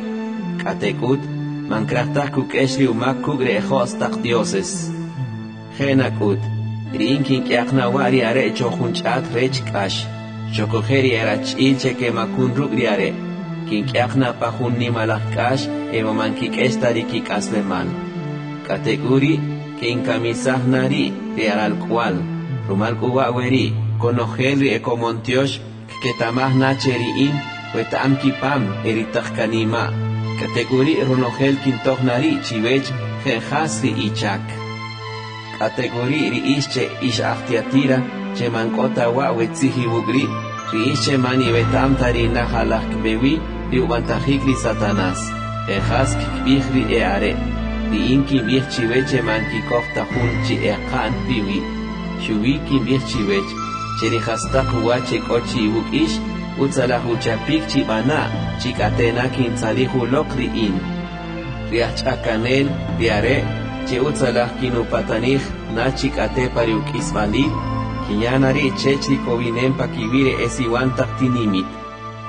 K'atek'ut, man kraj taj kuk'ex ri umak kuk' ri ejo's taq dioses. Je' nak'ut, ri in kink'yaq na wa' ri are' cho jun ch'at rech k'ax, xoquje' ri erach'il che kemakun ruk' ri are'. Kink'yaq na pa jun nimalaj k'ax e man kik'ex ta ri kik'aslemal. K'atek'uri', ke'inkamisaj na ri' ri eralk'uwa'l, rumal k'u wa' weri' konojel ri ekomon tyox kketa'maj na che ri in weta'am kipam e ri taq kanima'. K'atek'uri' ronojel kintoj na ri' chiwech je' jas ri ichak. K'atek'uri' ri ix che ix aj Tiatira, che man k'o ta wa' we tzij iwuk' ri', ri ix che man iweta'am ta ri najalaj kb'e wi ri ub'antajik ri Satanas, e jas kkib'ij ri e'are'. Ri in kinb'ij chiwech che man kikoj ta jun chi eqa'n piwi'. Xuwi kinb'ij chiwech, che ri jastaq uwach che k'o chi iwuk' ix, utzalaj uchapik chib'ana', chik'atena kintzalij uloq ri in. Ri ajch'akanel, ri are', che utzalaj kinupatanij na chik'ate pa ri uk'isb'alil, kinya na ri' chech ri kowinem pa kiwi' ri esiwan taq tinimit.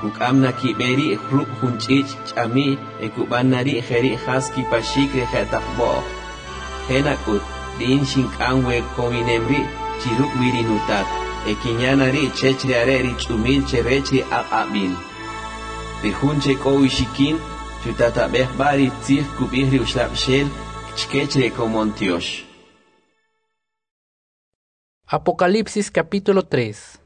Kuk'am na kib'e ri' ruk' jun ch'ich' ch'ami' e kub'an na ri' jeri' jas kipaxik ri je'taq b'o'j. Je' nak'ut, ri in xink'am we kowinem ri' chi ruk' wi ri nutat, e kinya na ri' chech ri are' ri ch'umil che rech ri aq'ab'il. Ri jun che k'o uxikin, chutatab'ej b'a' ri tzij kub'ij ri Uxlab'xel chkech ri ekomon tyox. Apocalipsis capítulo tres.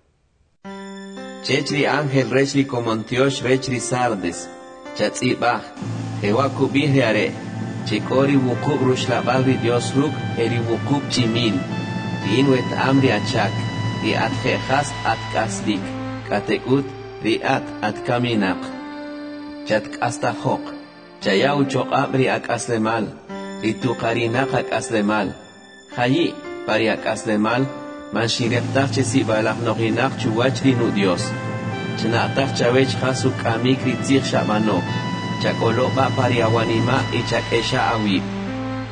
Chech ri ángel rech ri komon tyox rech ri Sardes, chatz'ib'aj, jewa' kub'ij ri are', che k'o ri wuqub' ruxlab'al ri Dios ruk' e ri wuqub' ch'imil. Ri in weta'am ri achak, ri at je' jas at k'aslik, k'atek'ut ri at at kaminaq. Chatk'astajoq, chaya uchoq'ab' ri ak'aslemal, ri tuqarinaq ak'aslemal. Jayi' pa ri ak'aslemal, man xinriqtaj che sib'alaj nojinaq chuwach ri nu Dios. Chna'taj chawech jas uk'amik ri tzij xab'ano, chak'olo' b'a' pa ri awanima' y chak'exa awib'.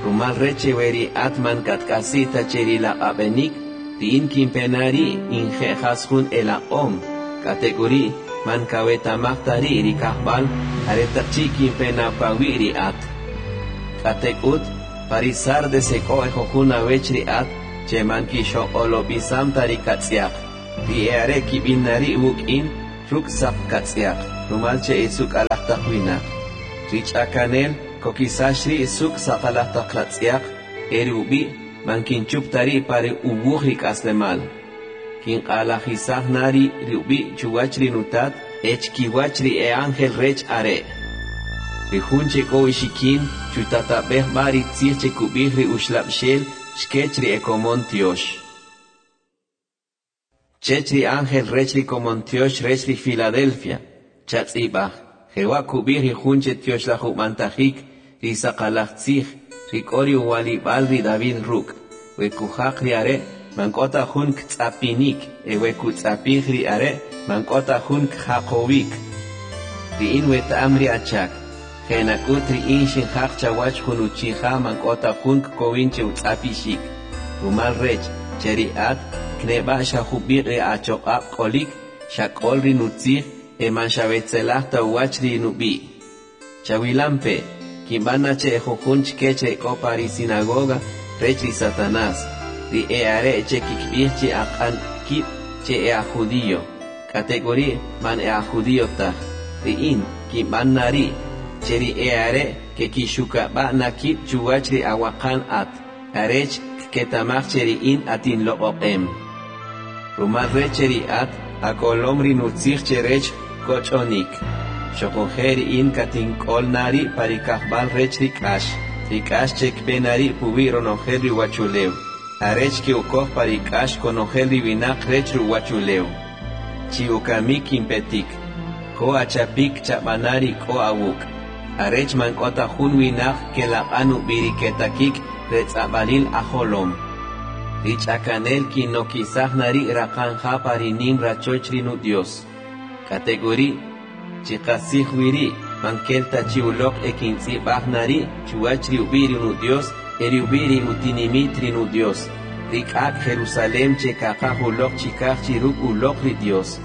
Rumal rech che we ri at man katk'asi' ta che ri laq'ab'enik, ri in kinpe na ri' in je' jas jun elaq'om, k'atek'uri' man kaweta'maj ta ri' ri kajb'al aretaq chi' kinpe na pawi' ri at. K'atek'ut, Pa ri Sardes ek'o ejujun awech ri at che man kixoq'olob'isam ta ri katz'yaq. Ri e'are' kib'in na ri' wuk' in ruk' saq katz'yaq, rumal che esuk'alaj taq winaq. Ri ch'akanel kokisax ri' suk' saqalaj taq ratz'yaq e ri ub'i' man kinchup ta ri' pa ri uwuj ri k'aslemal. Kinq'alajisaj na ri' ri ub'i' chuwach ri nutat e chkiwach ri e'ángel rech are'. Ri jun che k'o uxikin chutatab'ej b'a' ri tzij che kub'ij ri Uxlab'xel chkech ri ekomon tyox. Chech ri ángel rech ri komon tyox rech ri Filadelfia, chatz'ib'aj, jewa' kub'ij ri jun che tyoxlaj ub'antajik, ri saqalaj tzij, ri k'o ri uwalib'al ri David ruk', we kujaq ri are' man k'o ta jun ktz'apinik, e we kutz'apij ri are' man k'o ta jun kjaqowik. Ri in weta'am ri achak, je' nak'ut ri in xinjaq chawach jun uchija man k'o ta jun kkowin che utz'apixik, rumal rech che ri at kneb'a' xa jub'iq' ri achoq'ab' k'olik, xak'ol ri nutzij e man xawetzelaj ta uwach ri nub'i'. Chawilampe', kinb'an na che ejujun chkech ek'o pa ri sinagoga rech ri Satanás, ri e'are' che kikb'ij chi aq'an kib' che e'ajjudío, k'atek'uri' man e'ajjudío taj. Ri in kinb'an na ri' che ri e'are' kekixukab'a' na kib' chuwach ri awaqan at, arech kketa'maj che ri in atinloq'oq'em. Rumal rech che ri at ak'olom ri nutzij che rech koch'onik. Xoquje' ri in katink'ol na ri' pa ri kajb'al rech ri k'ax, ri k'ax che kpe na ri' puwi' ronojel ri uwachulew, arech ke'ukoj pa ri k'ax konojel ri winaq rech ri uwachulew. Chi ukamik kinpetik, ko achapik chab'ana ri k'o awuk', arech man k'o ta jun winaq kelaq'an ub'i ri ketakik retz'ab'alil ajolom. Ri ch'akanel kinokisaj na ri' raqanja pa ri nim rachoch ri Nudyos. K'atek'uri', chi qastzij wi ri' man kel ta chi uloq e kintz'ib'aj na ri' chuwach ri ub'i' ri Nudyos e ri ub'i' ri utinimit ri Nudyos, ri k'ak' Jerusalem che kaqaj uloq chikaj chi ruk' uloq ri Dios.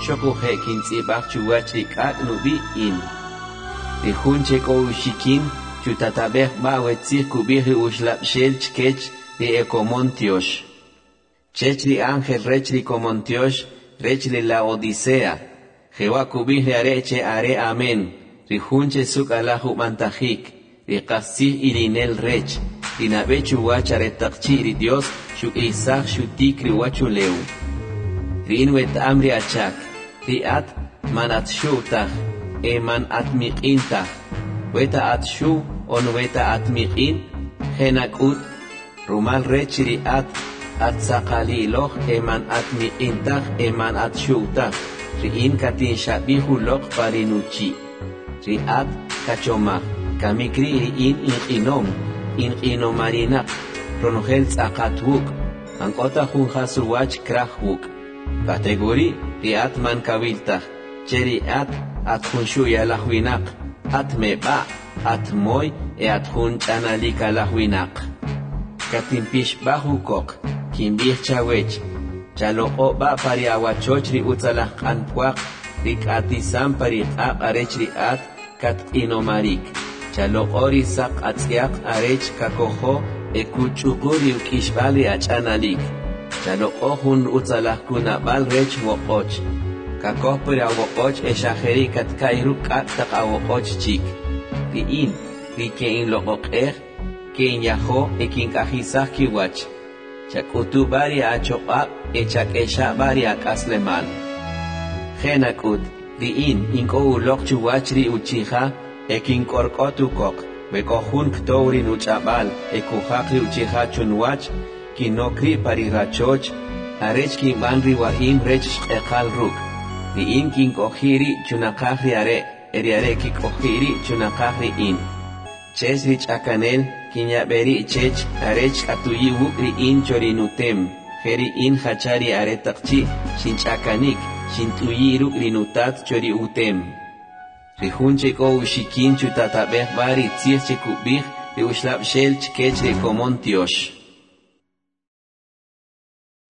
Xoquje' kintz'ib'aj chuwach ri k'ak' nub'i' in. Ri jun che k'o uxikin chutatab'ej b'a' we tzij kub'ij ri Uxlab'xel chkech ri ekomon tyox. Chech ri ángel rech ri komon tyox rech ri Laodicea, jewa' kub'ij ri are' che are Amen, ri jun che suk'alaj ub'antajik, ri qastzij ilinel rech, ri nab'e chuwach aretaq chi' ri Dios xuk'isaj xutik ri uwachulew. Ri in weta'am ri achak, ri at man at xuw taj, e man at miq'in taj. Weta at xuw on weta at miq'in, je' nak'ut, rumal rech ri at at saqaliloj e man at miq'in taj e man at xuw taj, ri in katinxab'ij uloq pa ri nuchi'. Ri at kachomaj, kamik ri' ri in inq'inom, inq'inomarinaq, ronojel tz'aqat wuk', man k'o ta jun jas uwach kraj wuk'. K'atek'uri' ri at man kawil taj, che ri at at jun xu'yalaj winaq, at meb'a', at moy e at jun ch'analikalaj winaq. Katinpixb'aj ukoq, kinb'ij chawech, chaloq'o' b'a' pa ri awachoch ri utzalaj q'an pwaq, ri k'atisam pa ri q'aq' arech ri at katq'inomarik. Chaloq'o' ri saq atz'yaq arech kakojo e kuch'uqu ri uk'ixb'al ri ach'analik. Chaloq'o' jun utzalaj kunab'al rech woq'och. Kakoj pa ri awoq'och e xa jeri' katka'y ruk' k'ak' taq awoq'och chik. Ri in, ri ke'inloq'oq'ej, ke'inyajo e kink'ajisaj kiwach. Chak'utu b'a' ri achoq'ab' e chak'exa' b'a' ri ak'aslemal. Je' nak'ut, ri in, in k'o uloq chuwach ri uchija e kink'ork'ot ukoq, we k'o jun ktow ri nuch'ab'al e kujaq ri uchija chunwach, kinok ri' pa ri rachoch, arech kinb'an ri wa'im rech xq'eqal ruk'. Ri in kink'oji' ri' chunaqaj ri are' e ri are' kik'oji' ri' chunaqaj ri in. Chech ri ch'akanel kinyab'e ri' chech arech k'atuyi' wuk' ri in cho ri nutem, je' ri in jacha ri aretaq chi' xinch'akanik, xint'uyi' ruk' ri nutat cho ri utem. Ri jun che k'o uxikin chutatab'ej b'a' ri tzij che kub'ij ri Uxlab'xel chkech ri komon tyox.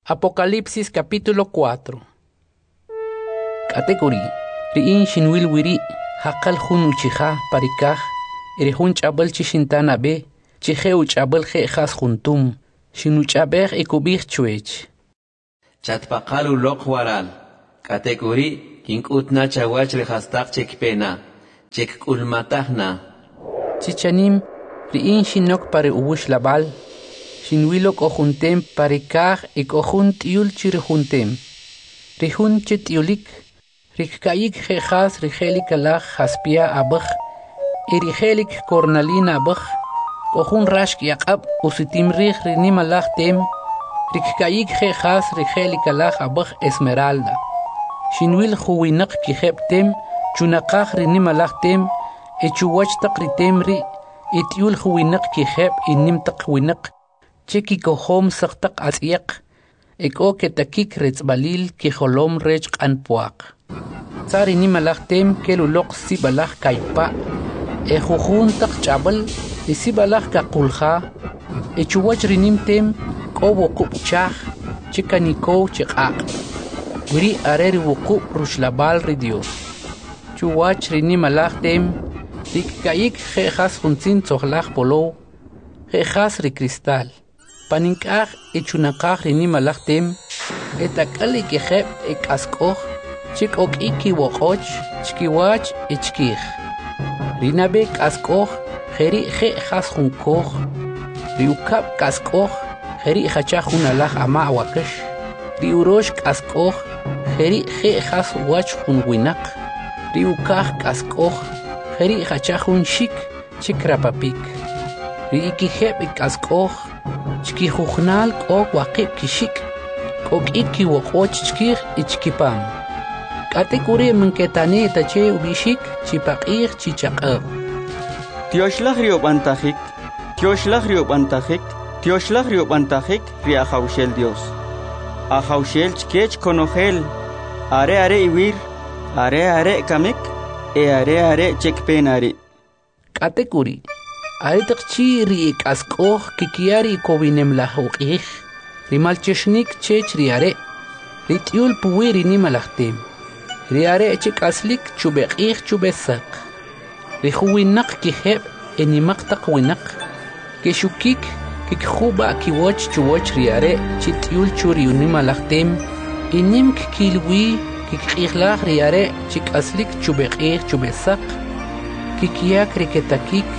Apocalipsis capítulo cuatro. K'atek'uri', ri in xinwil wiri' jaqal jun uchija pa ri kaj, e ri jun ch'ab'al che xinta nab'e, che je' uch'ab'al je' jas jun tum, xinuch'ab'ej e kub'ij chwech: Chatpaqal uloq waral, k'atek'uri' kink'ut na chawach ri jastaq che kpe na, che kk'ulmataj na. Chi chanim, ri in xinok pa ri wuxlab'al, xinwilo k'o jun tem pa ri kaj e k'o jun t'uyul cho ri jun tem. Ri jun che t'uyulik, ri kka'yik je' jas ri je'likalaj jaspya ab'aj e ri je'lik kornalina ab'aj, k'o jun rax k'yaqab' usutim rij ri nimalaj tem, ri kka'yik je' jas ri je'likalaj ab'aj esmeralda. Xinwil juwinaq kijeb' tem chunaqaj ri nimalaj tem e chuwach taq ri tem ri' et'uyul juwinaq kijeb' enim taq winaq che kikojom saq taq atz'yaq e k'o ketakik retz'b'alil kijolom rech q'an pwaq. Tza ri nimalaj tem kel uloq sib'alaj kaypa' e jujun taq ch'ab'al e sib'alaj kaqulja, e chuwach ri nim tem k'o wuqub' chaj che kanikow che q'aq'. Weri' are ri wuqub' ruxlab'al ri Dyos. Chuwach ri nimalaj tem, ri kka'yik je' jas jun tzin tzojlaj polow, je' jas ri kristal. Panik'aj e chunaqaj ri nimalaj tem, etak'al ekijeb' ek'ask'oj che k'o k'i kiwoq'och chkiwach e chkij. Ri nab'e k'ask'oj jeri' je' jas jun koj, ri ukab' k'ask'oj jeri' jacha jun alaj ama' wakax, ri urox k'ask'oj jeri' je' jas uwach jun winaq, ri ukaj k'ask'oj jeri' jacha jun xik che krapapik. Ri ekijeb' k'ask'oj chkijujunal k'o waqib' kixik', k'o k'i kiwoq'och chkij e chkipam. K'atek'uri' man ketani' ta che ub'ixik chi paq'ij chi chaq'ab'. Tyoxlaj ri ub'antajik, tyoxlaj ri ub'antajik, tyoxlaj ri ub'antajik ri Ajawxel Dios. Ajawxel chkech konojel, are are iwir, are are kamik, e are are che kpe na ri'. K'atek'uri', aretaq chi' ri ek'ask'oj kkiya ri kowinem laj uq'ij, ri maltyoxinik chech ri Are', ri t'uyul puwi' ri nimalaj tem, ri Are' che k'aslik chub'eq'ij chub'esaq. Ri juwinaq kijeb' enimaq taq winaq, kexukik kikjub'a' kiwach chuwach ri Are' che t'uyul cho ri nimalaj tem, e nim kkil wi kkiq'ijilaj ri Are' che k'aslik chub'eq'ij chub'esaq, kkiyak ri ketakik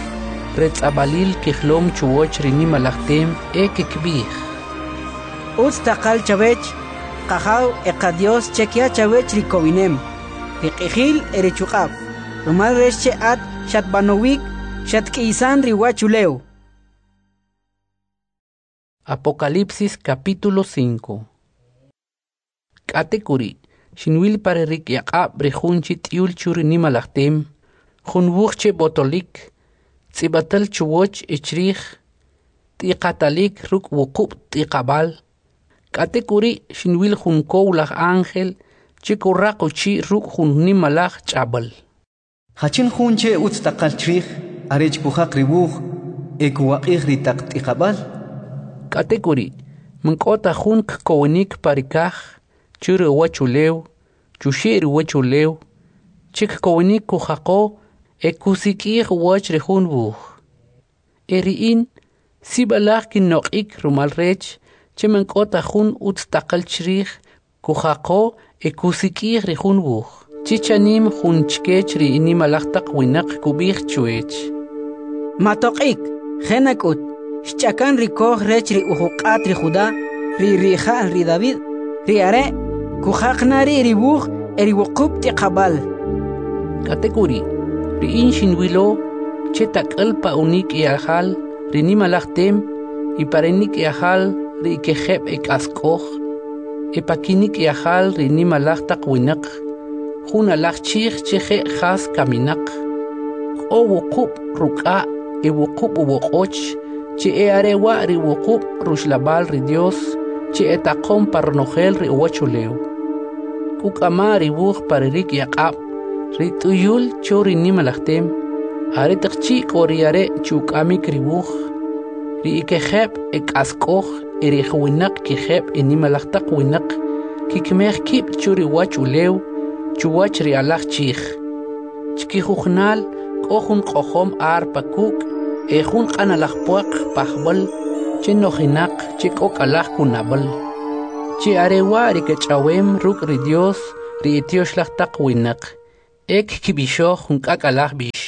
retz'ab'alil kijolom chuwach ri nimalaj tem e kkib'ij: Utz taqal chawech, Qajaw e Qadyos che kya chawech ri kowinem, ri q'ijil e ri chuq'ab', rumal rech che at xatb'anowik, xatk'iysan ri uwachulew. Apocalipsis capítulo cinco. K'atek'uri', xinwil pa ri rikyaq'ab' ri jun che t'uyul cho ri nimalaj tem, jun wuj che b'otolik, tz'ib'atal chuwach e chrij, t'iqatalik ruk' wuqub' t'iqab'al. K'atek'uri' xinwil jun kowlaj ángel che kuraq uchi' ruk' jun nimalaj ch'ab'al. Jachin jun che utz taqal chrij arech kujaq ri wuj e kuwaq'ij ri taq t'iqab'al? K'atek'uri', man k'o ta jun kkowinik pa ri kaj, chu ri uwachulew, chuxe' ri uwachulew, che kkowinik kujaqo e kusik'ij uwach ri jun wuj. E ri in, sib'alaj kinoq'ik rumal rech che man k'o ta jun utz taqal chrij kujaqo e kusik'ij ri jun wuj. Chi chanim jun chkech ri nimalaj taq winaq kub'ij chwech: Matoq'ik, je' nak'ut, xch'akan ri koj rech ri ujuq'at ri Juda, ri rija'l ri David. Ri are' kujaq na ri' ri wuj e ri wuqub' t'iqab'al. K'atek'uri', ri in xinwilo che tak'al pa unik'yajal ri nimalaj tem y pa ri nik'yajal ri ekijeb' ek'ask'oj, e pa kinik'yajal ri nimalaj taq winaq, jun alaj chij che je' jas kaminaq, k'o wuqub' ruk'a' e wuqub' uwoq'och, che e'are wa' ri wuqub' ruxlab'al ri Dios che etaqom pa ronojel ri uwachulew. Kuk'ama ri wuj pa ri rikyaq'ab' ri t'uyul cho ri nimalaj tem. Aretaq chi' k'o ri are' chuk'amik ri wuj, ri ekijeb' ek'ask'oj e ri juwinaq kijeb' enimalaj taq winaq kikimej kib' cho ri uwachulew chuwach ri alaj chij. Chkijujunal k'o jun q'ojom arpa kuk' e jun q'analaj puaq pajb'al che nojinaq che k'ok'alaj kunab'al, che are wa' ri kech'awem ruk' ri Dios ri etyoxlaj taq winaq, e kkib'ixoj jun k'ak'alaj b'ix.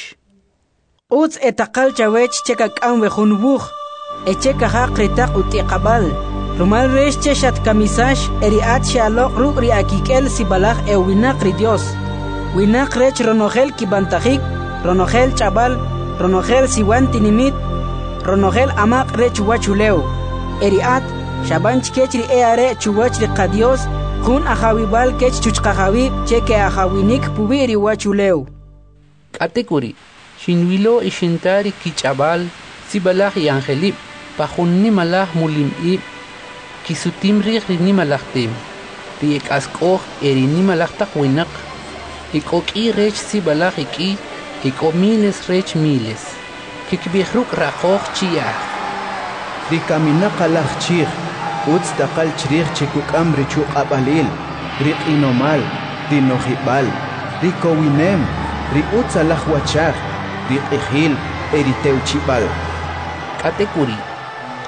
Utz e taqal chawech che kak'am we jun wuj e che kajaq ri taq ut'iqab'al, rumal rech che xatkamisax e ri at xe'aloq' ruk' ri akik'el sib'alaj e'uwinaq ri Dios, winaq rech ronojel kib'antajik, ronojel ch'ab'al, ronojel siwan tinimit, ronojel amaq' rech uwachulew. E ri at xab'an chkech ri e'are' chuwach ri Qadios jun ajawib'al kech chuchqajawib' che ke'ajawinik puwi' ri uwachulew. K'atek'uri', xinwilo y xinta ri kich'ab'al sib'alaj e'anjelib' pa jun nimalaj mulim ib' kisutim rij ri nimalaj tem, ri ek'ask'oj e ri nimalaj taq winaq, ek'o k'i rech sib'alaj ek'i, ek'o miles rech miles. Kikib'ij ruk' raqoj chi'aj: Ri kaminaq alaj chij, utz taqal chrij che kuk'am ri chuq'ab'alil, ri q'inomal, ri no'jib'al, ri kowinem, ri utzalaj wachaj, ri q'ijil e ri tewchi'b'al. K'atek'uri',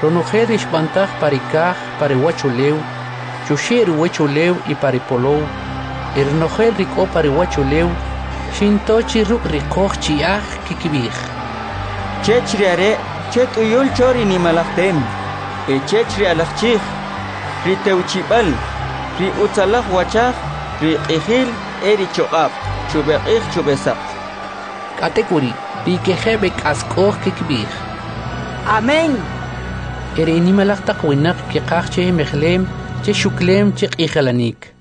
ronojel ri xb'antaj pa ri kaj, pa ri uwachulew, chuxe' ri uwachulew y pa ri polow, e ronojel ri k'o pa ri uwachulew, xinto chi ruk' riqoj chi'aj kikib'ij: Chech ri are' che t'uyul cho ri nimalaj tem, e chech ri Alaj Chij, ri tewchi'b'al, ri utzalaj wachaj, ri q'ijil e ri choq'ab', chub'eq'ij chub'esaq. K'atek'uri', ri kejeb' ek'ask'oj kikib'ij: Amén. E ri nimalaj taq winaq keqaj che mejlem, che xuklem, che q'ijilanik.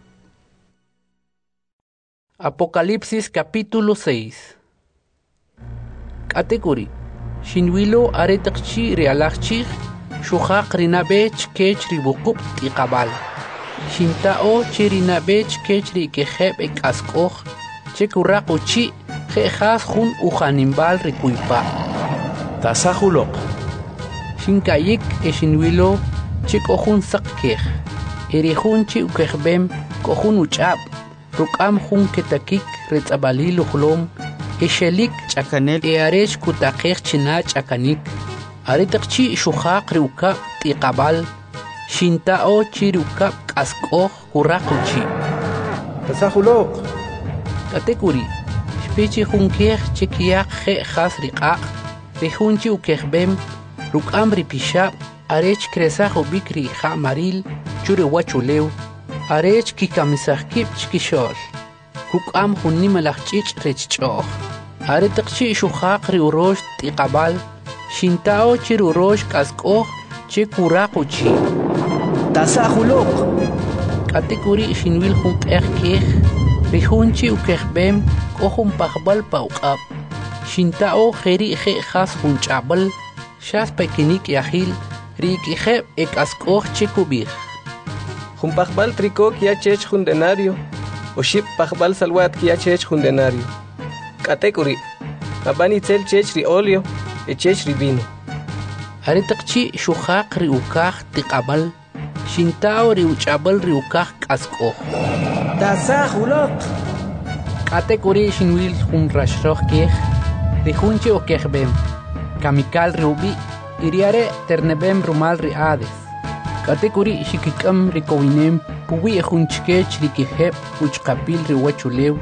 Apocalipsis capítulo seis. K'atek'uri', xinwilo aretaq chi' ri Alaj Chij xujaq ri nab'e chkech ri wuqub' t'iqab'al. Xinta'o che ri nab'e chkech ri kejeb' ek'ask'oj che kuraq uchi' je' jas jun ujaninb'al ri kuypa'. Tasaj uloq. Xinka'yik e xinwilo che k'o jun saq kej, e ri jun che ukejb'em k'o jun uch'ab', ruk'am jun ketakik retz'ab'alil ujolom e xelik Ch'akanel e arech kutaqej china ch'akanik. Aretaq chi' xujaq ri ukab' t'iqab'al, xinta'o chi ri ukab' k'ask'oj kuraq uchi'. Tasaj uloq. K'atek'uri', xpe chi jun kej che kyaq je' jas ri q'aq', ri jun che ukejb'em ruk'am ri pixab' arech kresaj ub'ik ri ja'maril cho ri uwachulew, arech kikamisaj kib' chkixo'l. Kuk'am jun nimalaj ch'ich' rech ch'o'j. Aretaq chi' xujaq ri urox t'iqab'al, xinta'o che ri urox k'ask'oj che kuraq uchi'. Tasaj uloq. K'atek'uri' xinwil jun q'eq kej, ri jun che ukejb'em k'o jun pajb'al pa uq'ab'. Xinta'o jeri' je' jas jun ch'ab'al, xas pa kinik'yajil ri ekejeb' ek'ask'oj che kub'ij: Jun pajb'al triko kya chech jun denario, oxib' pajb'al salwa't kya chech jun denario. K'atek'uri', mab'an itzel chech ri oleo e chech ri vino. Aretaq chi' xujaq ri ukaj tiq'ab'al, xinta'o ri uch'ab'al ri ukaj k'ask'oj. Tasaj uloq. K'atek'uri' xinwil jun raxroj kej, ri jun che ukejb'em, Kamikal ri ub'i', y ri are' terneb'em rumal ri Hades. K'atek'uri' xikik'am ri kowinem puwi' jun chkech ri kijeb' uch'aqapil ri uwachulew,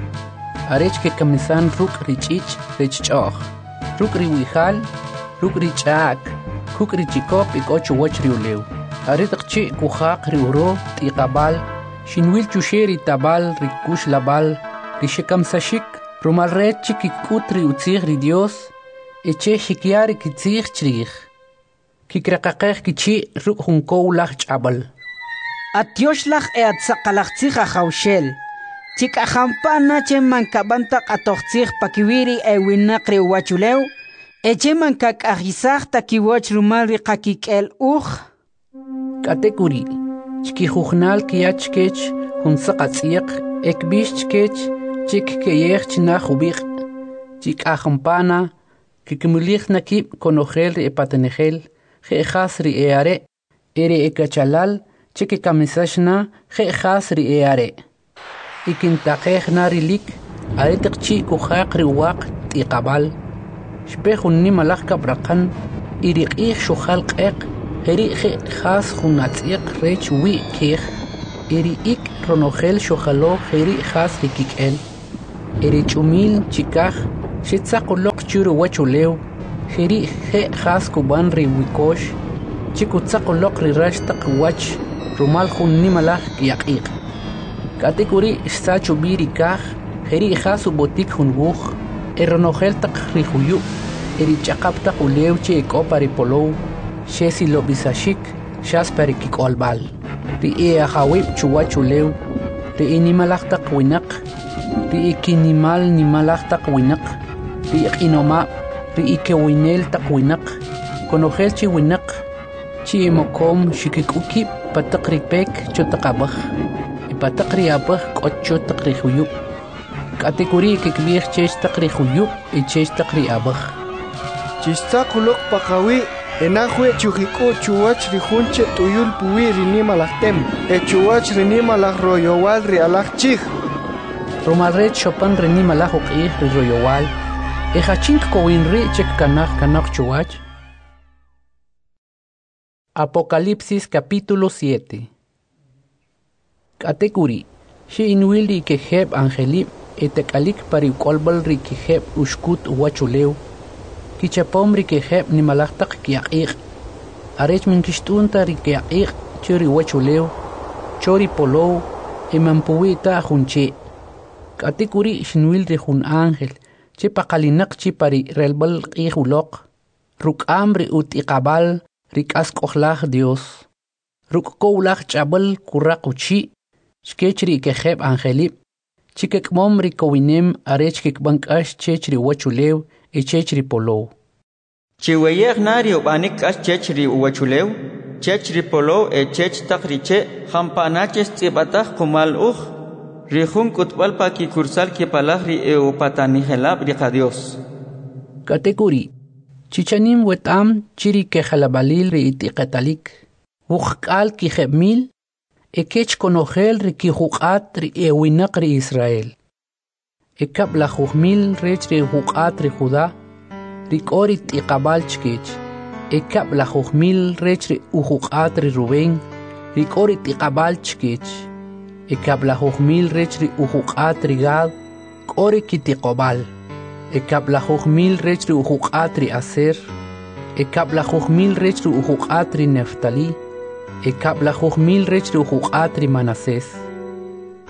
arech kekamisan ruk' ri ch'ich' rech ch'o'j, ruk' ri wi'jal, ruk' ri ch'a'k, kuk' ri chikop ek'o chuwach ri ulew. Aretaq chi' kujaq ri uro' t'iqab'al, xinwil chuxe' ri tab'al ri kuxlab'al ri xekamsaxik rumal rech che kik'ut ri utzij ri Dios e che xikya ri kitzij chrij. Kikraqaqej kichi' ruk' jun kow laj ch'ab'al. Atyoxlaj e atsaqalaj tzij Ajawxel, chik'ajampa na che man kab'an ta q'atoj tzij pakiwi' ri ewinaq ri uwachulew, e che man kak'ajisaj ta kiwach rumal ri qakik'el uj. K'atek'uri', chkijujunal kya chkech jun saq atz'yaq e kb'ix chkech che kkeyej china jub'iq', chik'ajampana kkimulij na kib' konojel ri epatanijel je' jas ri e'are' e ri ekachalal che kekamisax na je' jas ri e'are'. Y kintaqej na rilik aretaq chi' kujaq ri uwaq t'iqab'al, Xpe jun nimalaj kab'raqan y ri q'ij xujal q'eq jeri' je' jas jun atz'yaq rech uwi' kej, e ri ik' ronojel xujalo jeri' jas ri kik'el. E ri ch'umil chikaj xetzaq uloq cho ruwachulew jeri' je' jas kub'an ri wikox che kutzaq uloq ri rax taq uwach rumal jun nimalaj kyaq'iq'. K'atek'uri' xsach ub'i ri kaj jeri' jas ub'otik jun wuj, e ronojel taq ri juyub' e ri ch'aqap taq ulew che ek'o pa ri polow xesilob'isaxik xas pa ri kik'olb'al. Ri e'ajawib' chuwachulew, ri enimalaj taq winaq, ri ekinimal nimalaj taq winaq, ri eq'inomab', ri ekowinel taq winaq, konojel chi winaq, chi emokom xkik'u' kib' pa taq ri pek cho taq ab'aj, e pa taq ri ab'aj k'o cho taq ri juyub'. K'atek'uri' kkib'ij chech taq ri juyub' e chech taq ri ab'aj: Chixtzaq uloq paqawi' e naj wi chujik'u' chuwach ri jun che t'uyul puwi' ri nimalaj tem e chuwach ri nimalaj royowal ri Alaj Chij. Rumal rech xopan ri nimalaj uq'ij ri royowal, e jachin kkowin ri' che kkanaj kanoq chuwach? Apocalipsis capítulo siete. K'atek'uri', xe'inwil ri kejeb' anjelib' etak'alik pa ri uk'olb'al ri kejeb' uxkut uwachulew, kichapom ri kejeb' nimalaj taq kyaq'iq', arech man kixt'un ta ri kyaq'iq' cho ri uwachulew, cho ri polow e man puwi' ta jun che'. K'atek'uri' xinwil ri jun ángel che paqalinaq chi pa ri relb'al q'ij uloq, ruk'am ri ut'iqab'al ri k'ask'ojlaj Dios. Ruk' kowlaj ch'ab'al kuraq uchi' chkech ri kejeb' anjelib' che kik'amom ri kowinem arech kkib'an k'ax chech ri uwachulew e chech ri polow. Chiweye'j na ri ub'anik k'ax chech ri uwachulew, chech ri polow e chech taq ri che' jampa' na che xtz'ib'ataj qumal uj, ri jun k'utb'al pa kikursal kipalaj ri e'upatanijelab' ri Qadyos. K'atek'uri', chi chanim weta'am chi ri kejalab'alil ri it'iqatalik, wuqk'al kijeb' mil, e kech konojel ri kijuq'at ri e'uwinaq ri Israel. E kab'lajuj mil rech ri ujuq'at ri Juda, ri k'o ri t'iqab'al chkech, e kab'lajuj mil rech ri ujuq'at ri Rubén, ri k'o ri t'iqab'al chkech, e kab'lajuj mil rech ri ujuq'at ri Gad, k'o ri kitiqob'al, e kab'lajuj mil rech ri ujuq'at ri Aser, e kab'lajuj mil rech ri ujuq'at ri Neftali, e kab'lajuj mil rech ri ujuq'at ri Manasés,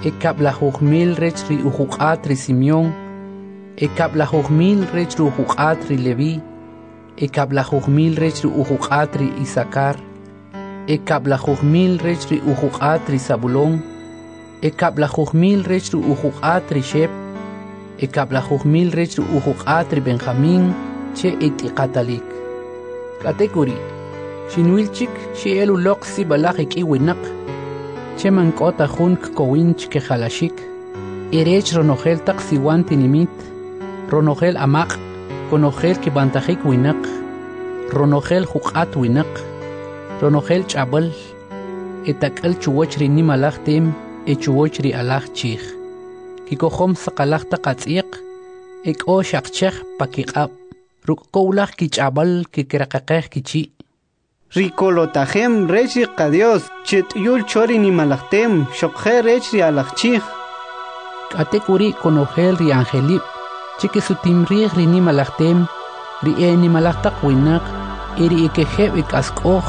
e kab'lajuj mil rech ri ujuq'at ri Simeón, e kab'lajuj mil rech ri ujuq'at ri Levi, e kab'lajuj mil rech ri ujuq'at ri Isakar, e kab'lajuj mil rech ri ujuq'at ri Zabulón, e kab'lajuj mil rech ri ujuq'at ri Shep, e kab'lajuj mil rech ri ujuq'at ri Benjamín che et'iqatalik. K'atek'uri', xinwil chik xe'el uloq sib'alaj ek'i winaq, che man k'o ta jun kkowin chkejalaxik, e rech ronojel taq siwan tinimit, ronojel amaq', konojel kib'antajik winaq, ronojel juq'at winaq, ronojel ch'ab'al, etak'al chuwach ri nimalaj tem e chuwach ri alaj chij. Kikojom saqalaj taq atz'yaq, e k'o xaqchej pa kiq'ab', ruk' kowlaj kich'ab'al kikiraqaqej kichi'. Ri kolotajem rech ri Qadios che t'uyul cho ri nimalaj tem xoqje' rech ri alaj chij. K'atek'uri' konojel ri anjelib' che kisutim rij ri nimalaj tem, ri enimalaj taq winaq e ri ekejeb' ek'ask'oj,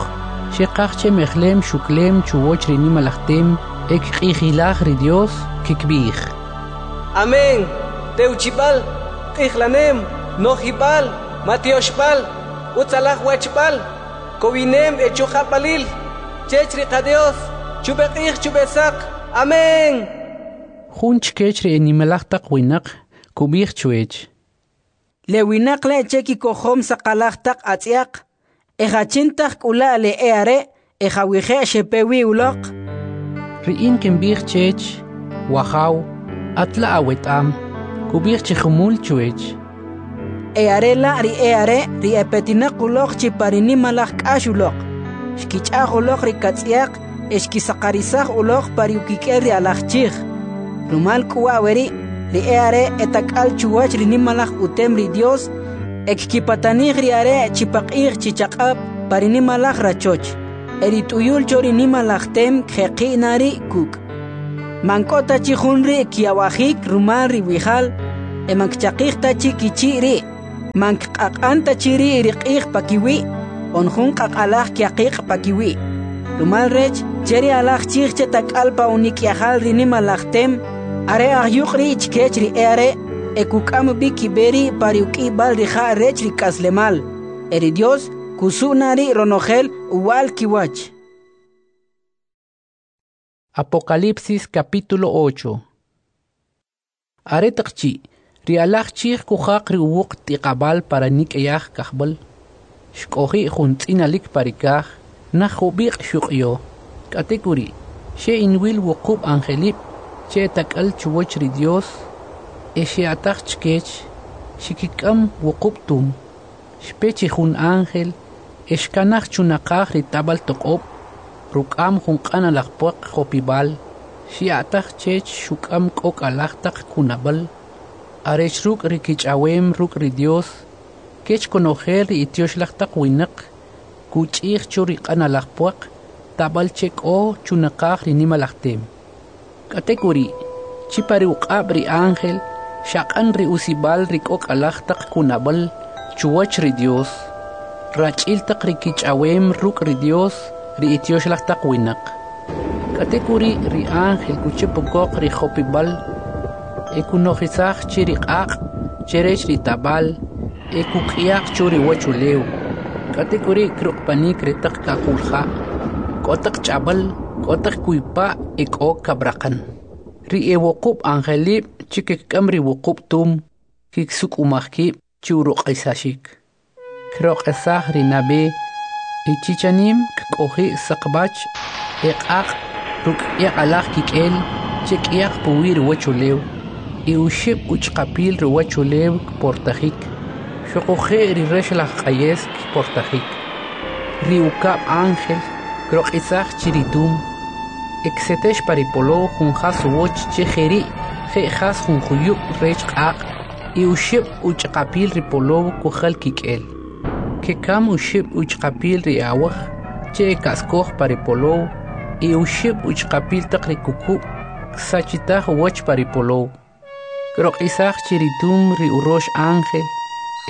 xeqaj che mejlem xuklem chuwach ri nimalaj tem e kq'ijilaj ri Dios, kikb'ij: Amén. Tewchib'al, q'ijlanem, nojib'al, matioxb'al, utzalaj wachb'al, kowinem e chuq'ab'alil, chech ri Qadios, chub'e q'ij chub'e saq. Amén. Jun chkech ri enimalaj taq winaq kub'ij chwech: Le winaq le' che kikojom saqalaj taq atz'yaq, e jachin taq k'ula' le e'are' e jawije' xepe wi uloq. Ri in kinb'ij chech: Wajaw, at la' aweta'am. Kub'ij chi jumul chwech: E are la' ri e'are' ri epetinaq uloq chi pa ri nimalaj k'ax uloq, xkich'aj uloq ri katz'yaq e xkisaqarisaj uloq pa ri ukik'el ri alaj chij. Rumal k'u wa' weri', ri e'are' etak'al chuwach ri nimalaj utem ri Dios E kkipatanij ri Are' chi paq'ij chi chaq'ab' pa ri nimalaj rachoch. E ri t'uyul cho ri nimalaj tem kjeqi' na ri' kuk'. Man k'o ta chi jun ri' kyawajik rumal ri wi'jal, e man kchaqij ta chi kichi' ri'. Man kq'aq'an ta chi ri' ri q'ij pakiwi', on jun q'aq'alaj kyaqiq' pakiwi'. Rumal rech che ri Alaj Chij che tak'al pa unik'yajal ri nimalaj tem, are ajyuq' ri' chkech ri e'are' e kuk'am b'i kib'e ri' pa ri uk'iyb'al ri ja' rech ri k'aslemal. E ri Dios kusu' na ri' ronojel uwa'l kiwach. Apocalipsis capítulo ocho. Aretaq chi' ri alaj chij kujaq ri uwuq t'iqab'al para nik'yaj kajb'al, xk'oji' jun tz'inalik pa ri kaj, naj jub'iq' xuq'yo. K'atek'uri', xe'inwil wuqub' angelib' che etak'al chuwach ri Dios, e xe'ataj chkech, xikik'am wuqub' tum. Xpe chi jun ángel e xkanaj chunaqaj ri tab'al toq'ob', ruk'am jun q'analaj puaq jopib'al, xya'taj chech xuk'am k'ok'alaj taq kunab'al, arech ruk' ri kich'awem ruk' ri Dios, kech konojel ri ityoxlaj taq winaq, kuch'ij cho ri q'analaj puaq tab'al che k'o chunaqaj ri nimalaj tem. K'atek'uri', chi pa ri uq'ab' ri ángel, xaq'an ri usib'al ri k'ok'alaj taq kunab'al chuwach ri Dios, rach'il taq ri kich'awem ruk' ri Dios ri ityoxlaj taq winaq. K'atek'uri' ri ángel kuchap ukoq ri jopib'al e kunojisaj che ri q'aq' che rech ri tab'al e kuk'yaq cho ri uwachulew. K'atek'uri' kroq'panik ri taq kaqulja', k'o taq ch'ab'al, k'o taq kuypa' e k'o kab'raqan. Ri e wuqub' angelib' che kik'am ri wuqub' tum kiksuk'umaj kib' che uroq'isaxik. Kroq'isaj ri nab'e e chichanim kk'oji' saqb'ach e q'aq' ruk' k'yaqalaj kik'el che k'yaq puwi' ri uwachulew, e oxib' uch'aqapil ri uwachulew kportajik, xuquje' ri raxalaj q'ayes kportajik. Ri ukab' ángel kroq'isaj chi ri tum, e ksetex pa ri polow jun jas uwach che jeri' je' jas jun juyub' rech q'aq', e oxib' uch'aqapil ri polow kujal kik'el. Kekam oxib' uch'aqapil ri awaj che ek'ask'oj pa ri polow e oxib' uch'aqapil taq ri kukub' ksachitaj uwach pa ri polow. Kroq'isaj chi ri tum ri urox ángel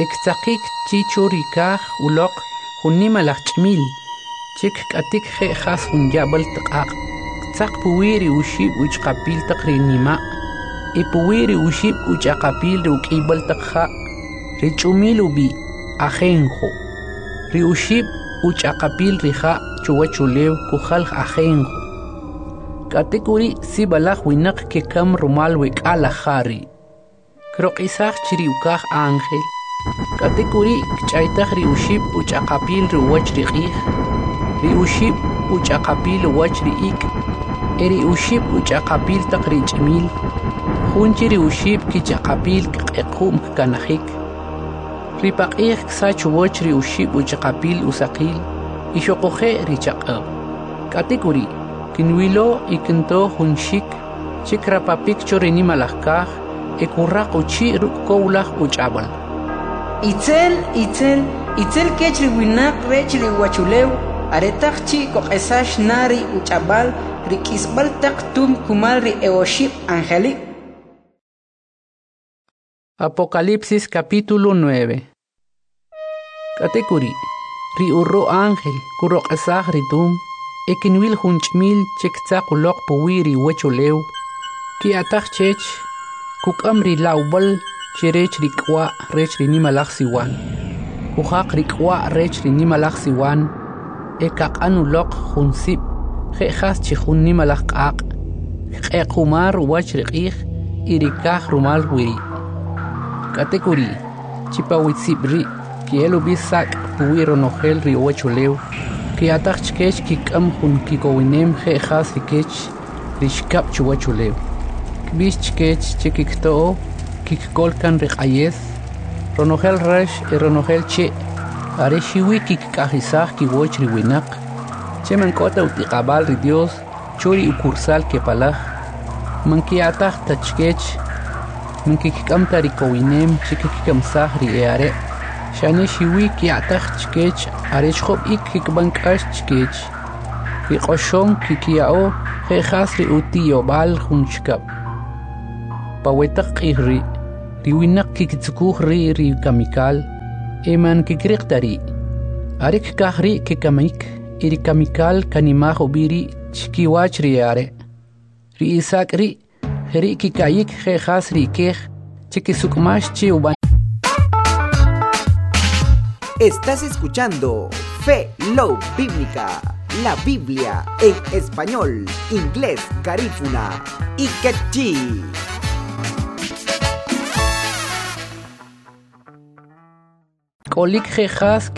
e ktzaqik chi cho ri kaj uloq jun nimalaj ch'imil che kk'atik je' jas jun yab'al q'aq', ktzaq puwi' ri oxib' uch'aqapil taq ri nima' e puwi' ri oxib' uch'aqapil ri uk'iyb'al taq ja', ri ch'umil ub'i' Ajenjo. Ri oxib' uch'aqapil ri ja' chuwachulew kujal ajenjo. K'atek'uri' sib'alaj winaq kekam rumal we k'alaj ja' ri'. Kroq'isaj chi ri ukaj ángel, k'atek'uri' kch'aytaj ri oxib' uch'aqapil ri uwach ri q'ij, ri oxib' uch'aqapil uwach ri ik' e ri oxib' uch'aqapil taq ri ch'imil, jun che ri oxib' kich'aqapil kq'equ'm kkanajik. Ri paq'ij ksach uwach ri oxib' uch'aqapil usaqil y xuquje' ri chaq'ab'. K'atek'uri' kinwilo y kinto jun xik che krapapik cho ri nimalaj kaj e kuraq uchi' ruk' kowlaj uch'ab'al. Itzel, itzel, itzel kech ri winaq rech ri uwachulew, aretaq chi' koq'esax na ri uch'ab'al ri k'isb'al taq tum kumal ri e oxib' angelib'. Apocalipsis capítulo nueve. K'atek'uri', ri uro' ángel kuroq'isaj ri tum, e kinwil jun ch'imil che ktzaq uloq puwi' ri uwachulew, ki'ataj chech, kuk'am ri lawb'al che rech ri k'wa' rech ri nimalaj siwan. Kujaq ri k'wa' rech ri nimalaj siwan, e kaq'an uloq jun sib' je' jas chi jun nimalaj q'aq', kq'equmar uwach ri q'ij y ri kaj rumal wiri'. K'atek'uri', chi pa witzib' ri' ki'el ub'i sak' puwi' ronojel ri uwachulew, ki'ataj chkech kik'am jun kikowinem je' jas ri kech ri xkab' chuwachulew. Kb'ix chkech che kikto'o kikkol kan ri q'ayes, ronojel rax e ronojel che', are xiwi kikk'ajisaj kiwach ri winaq, che man k'o ta ut'iqab'al ri Dios cho ri ukursal kepalaj, man ki'ataj ta chkech, man kik'am ta ri kowinem che kikkamsaj ri e'are', Xane xiwi kya'taj chkech arech job' ik' kkib'an k'ax chkech. Ri q'oxom kkiya'o je' jas ri uti'yob'al jun chikap. Pa we taq q'ij ri', ri winaq kkitzukuj ri' ri kamikal e man kkiriq ta ri'. Are kkaj ri' kekamik e ri kamikal kanimaj ub'i ri' chkiwach ri e'are'. Ri isak' ri' jeri' keka'yik je' jas ri kej che kesuk'umax che ub'anik. Estás escuchando Fe Love Bíblica, la Biblia en español, inglés, garífuna y quechí. K'olik je' jas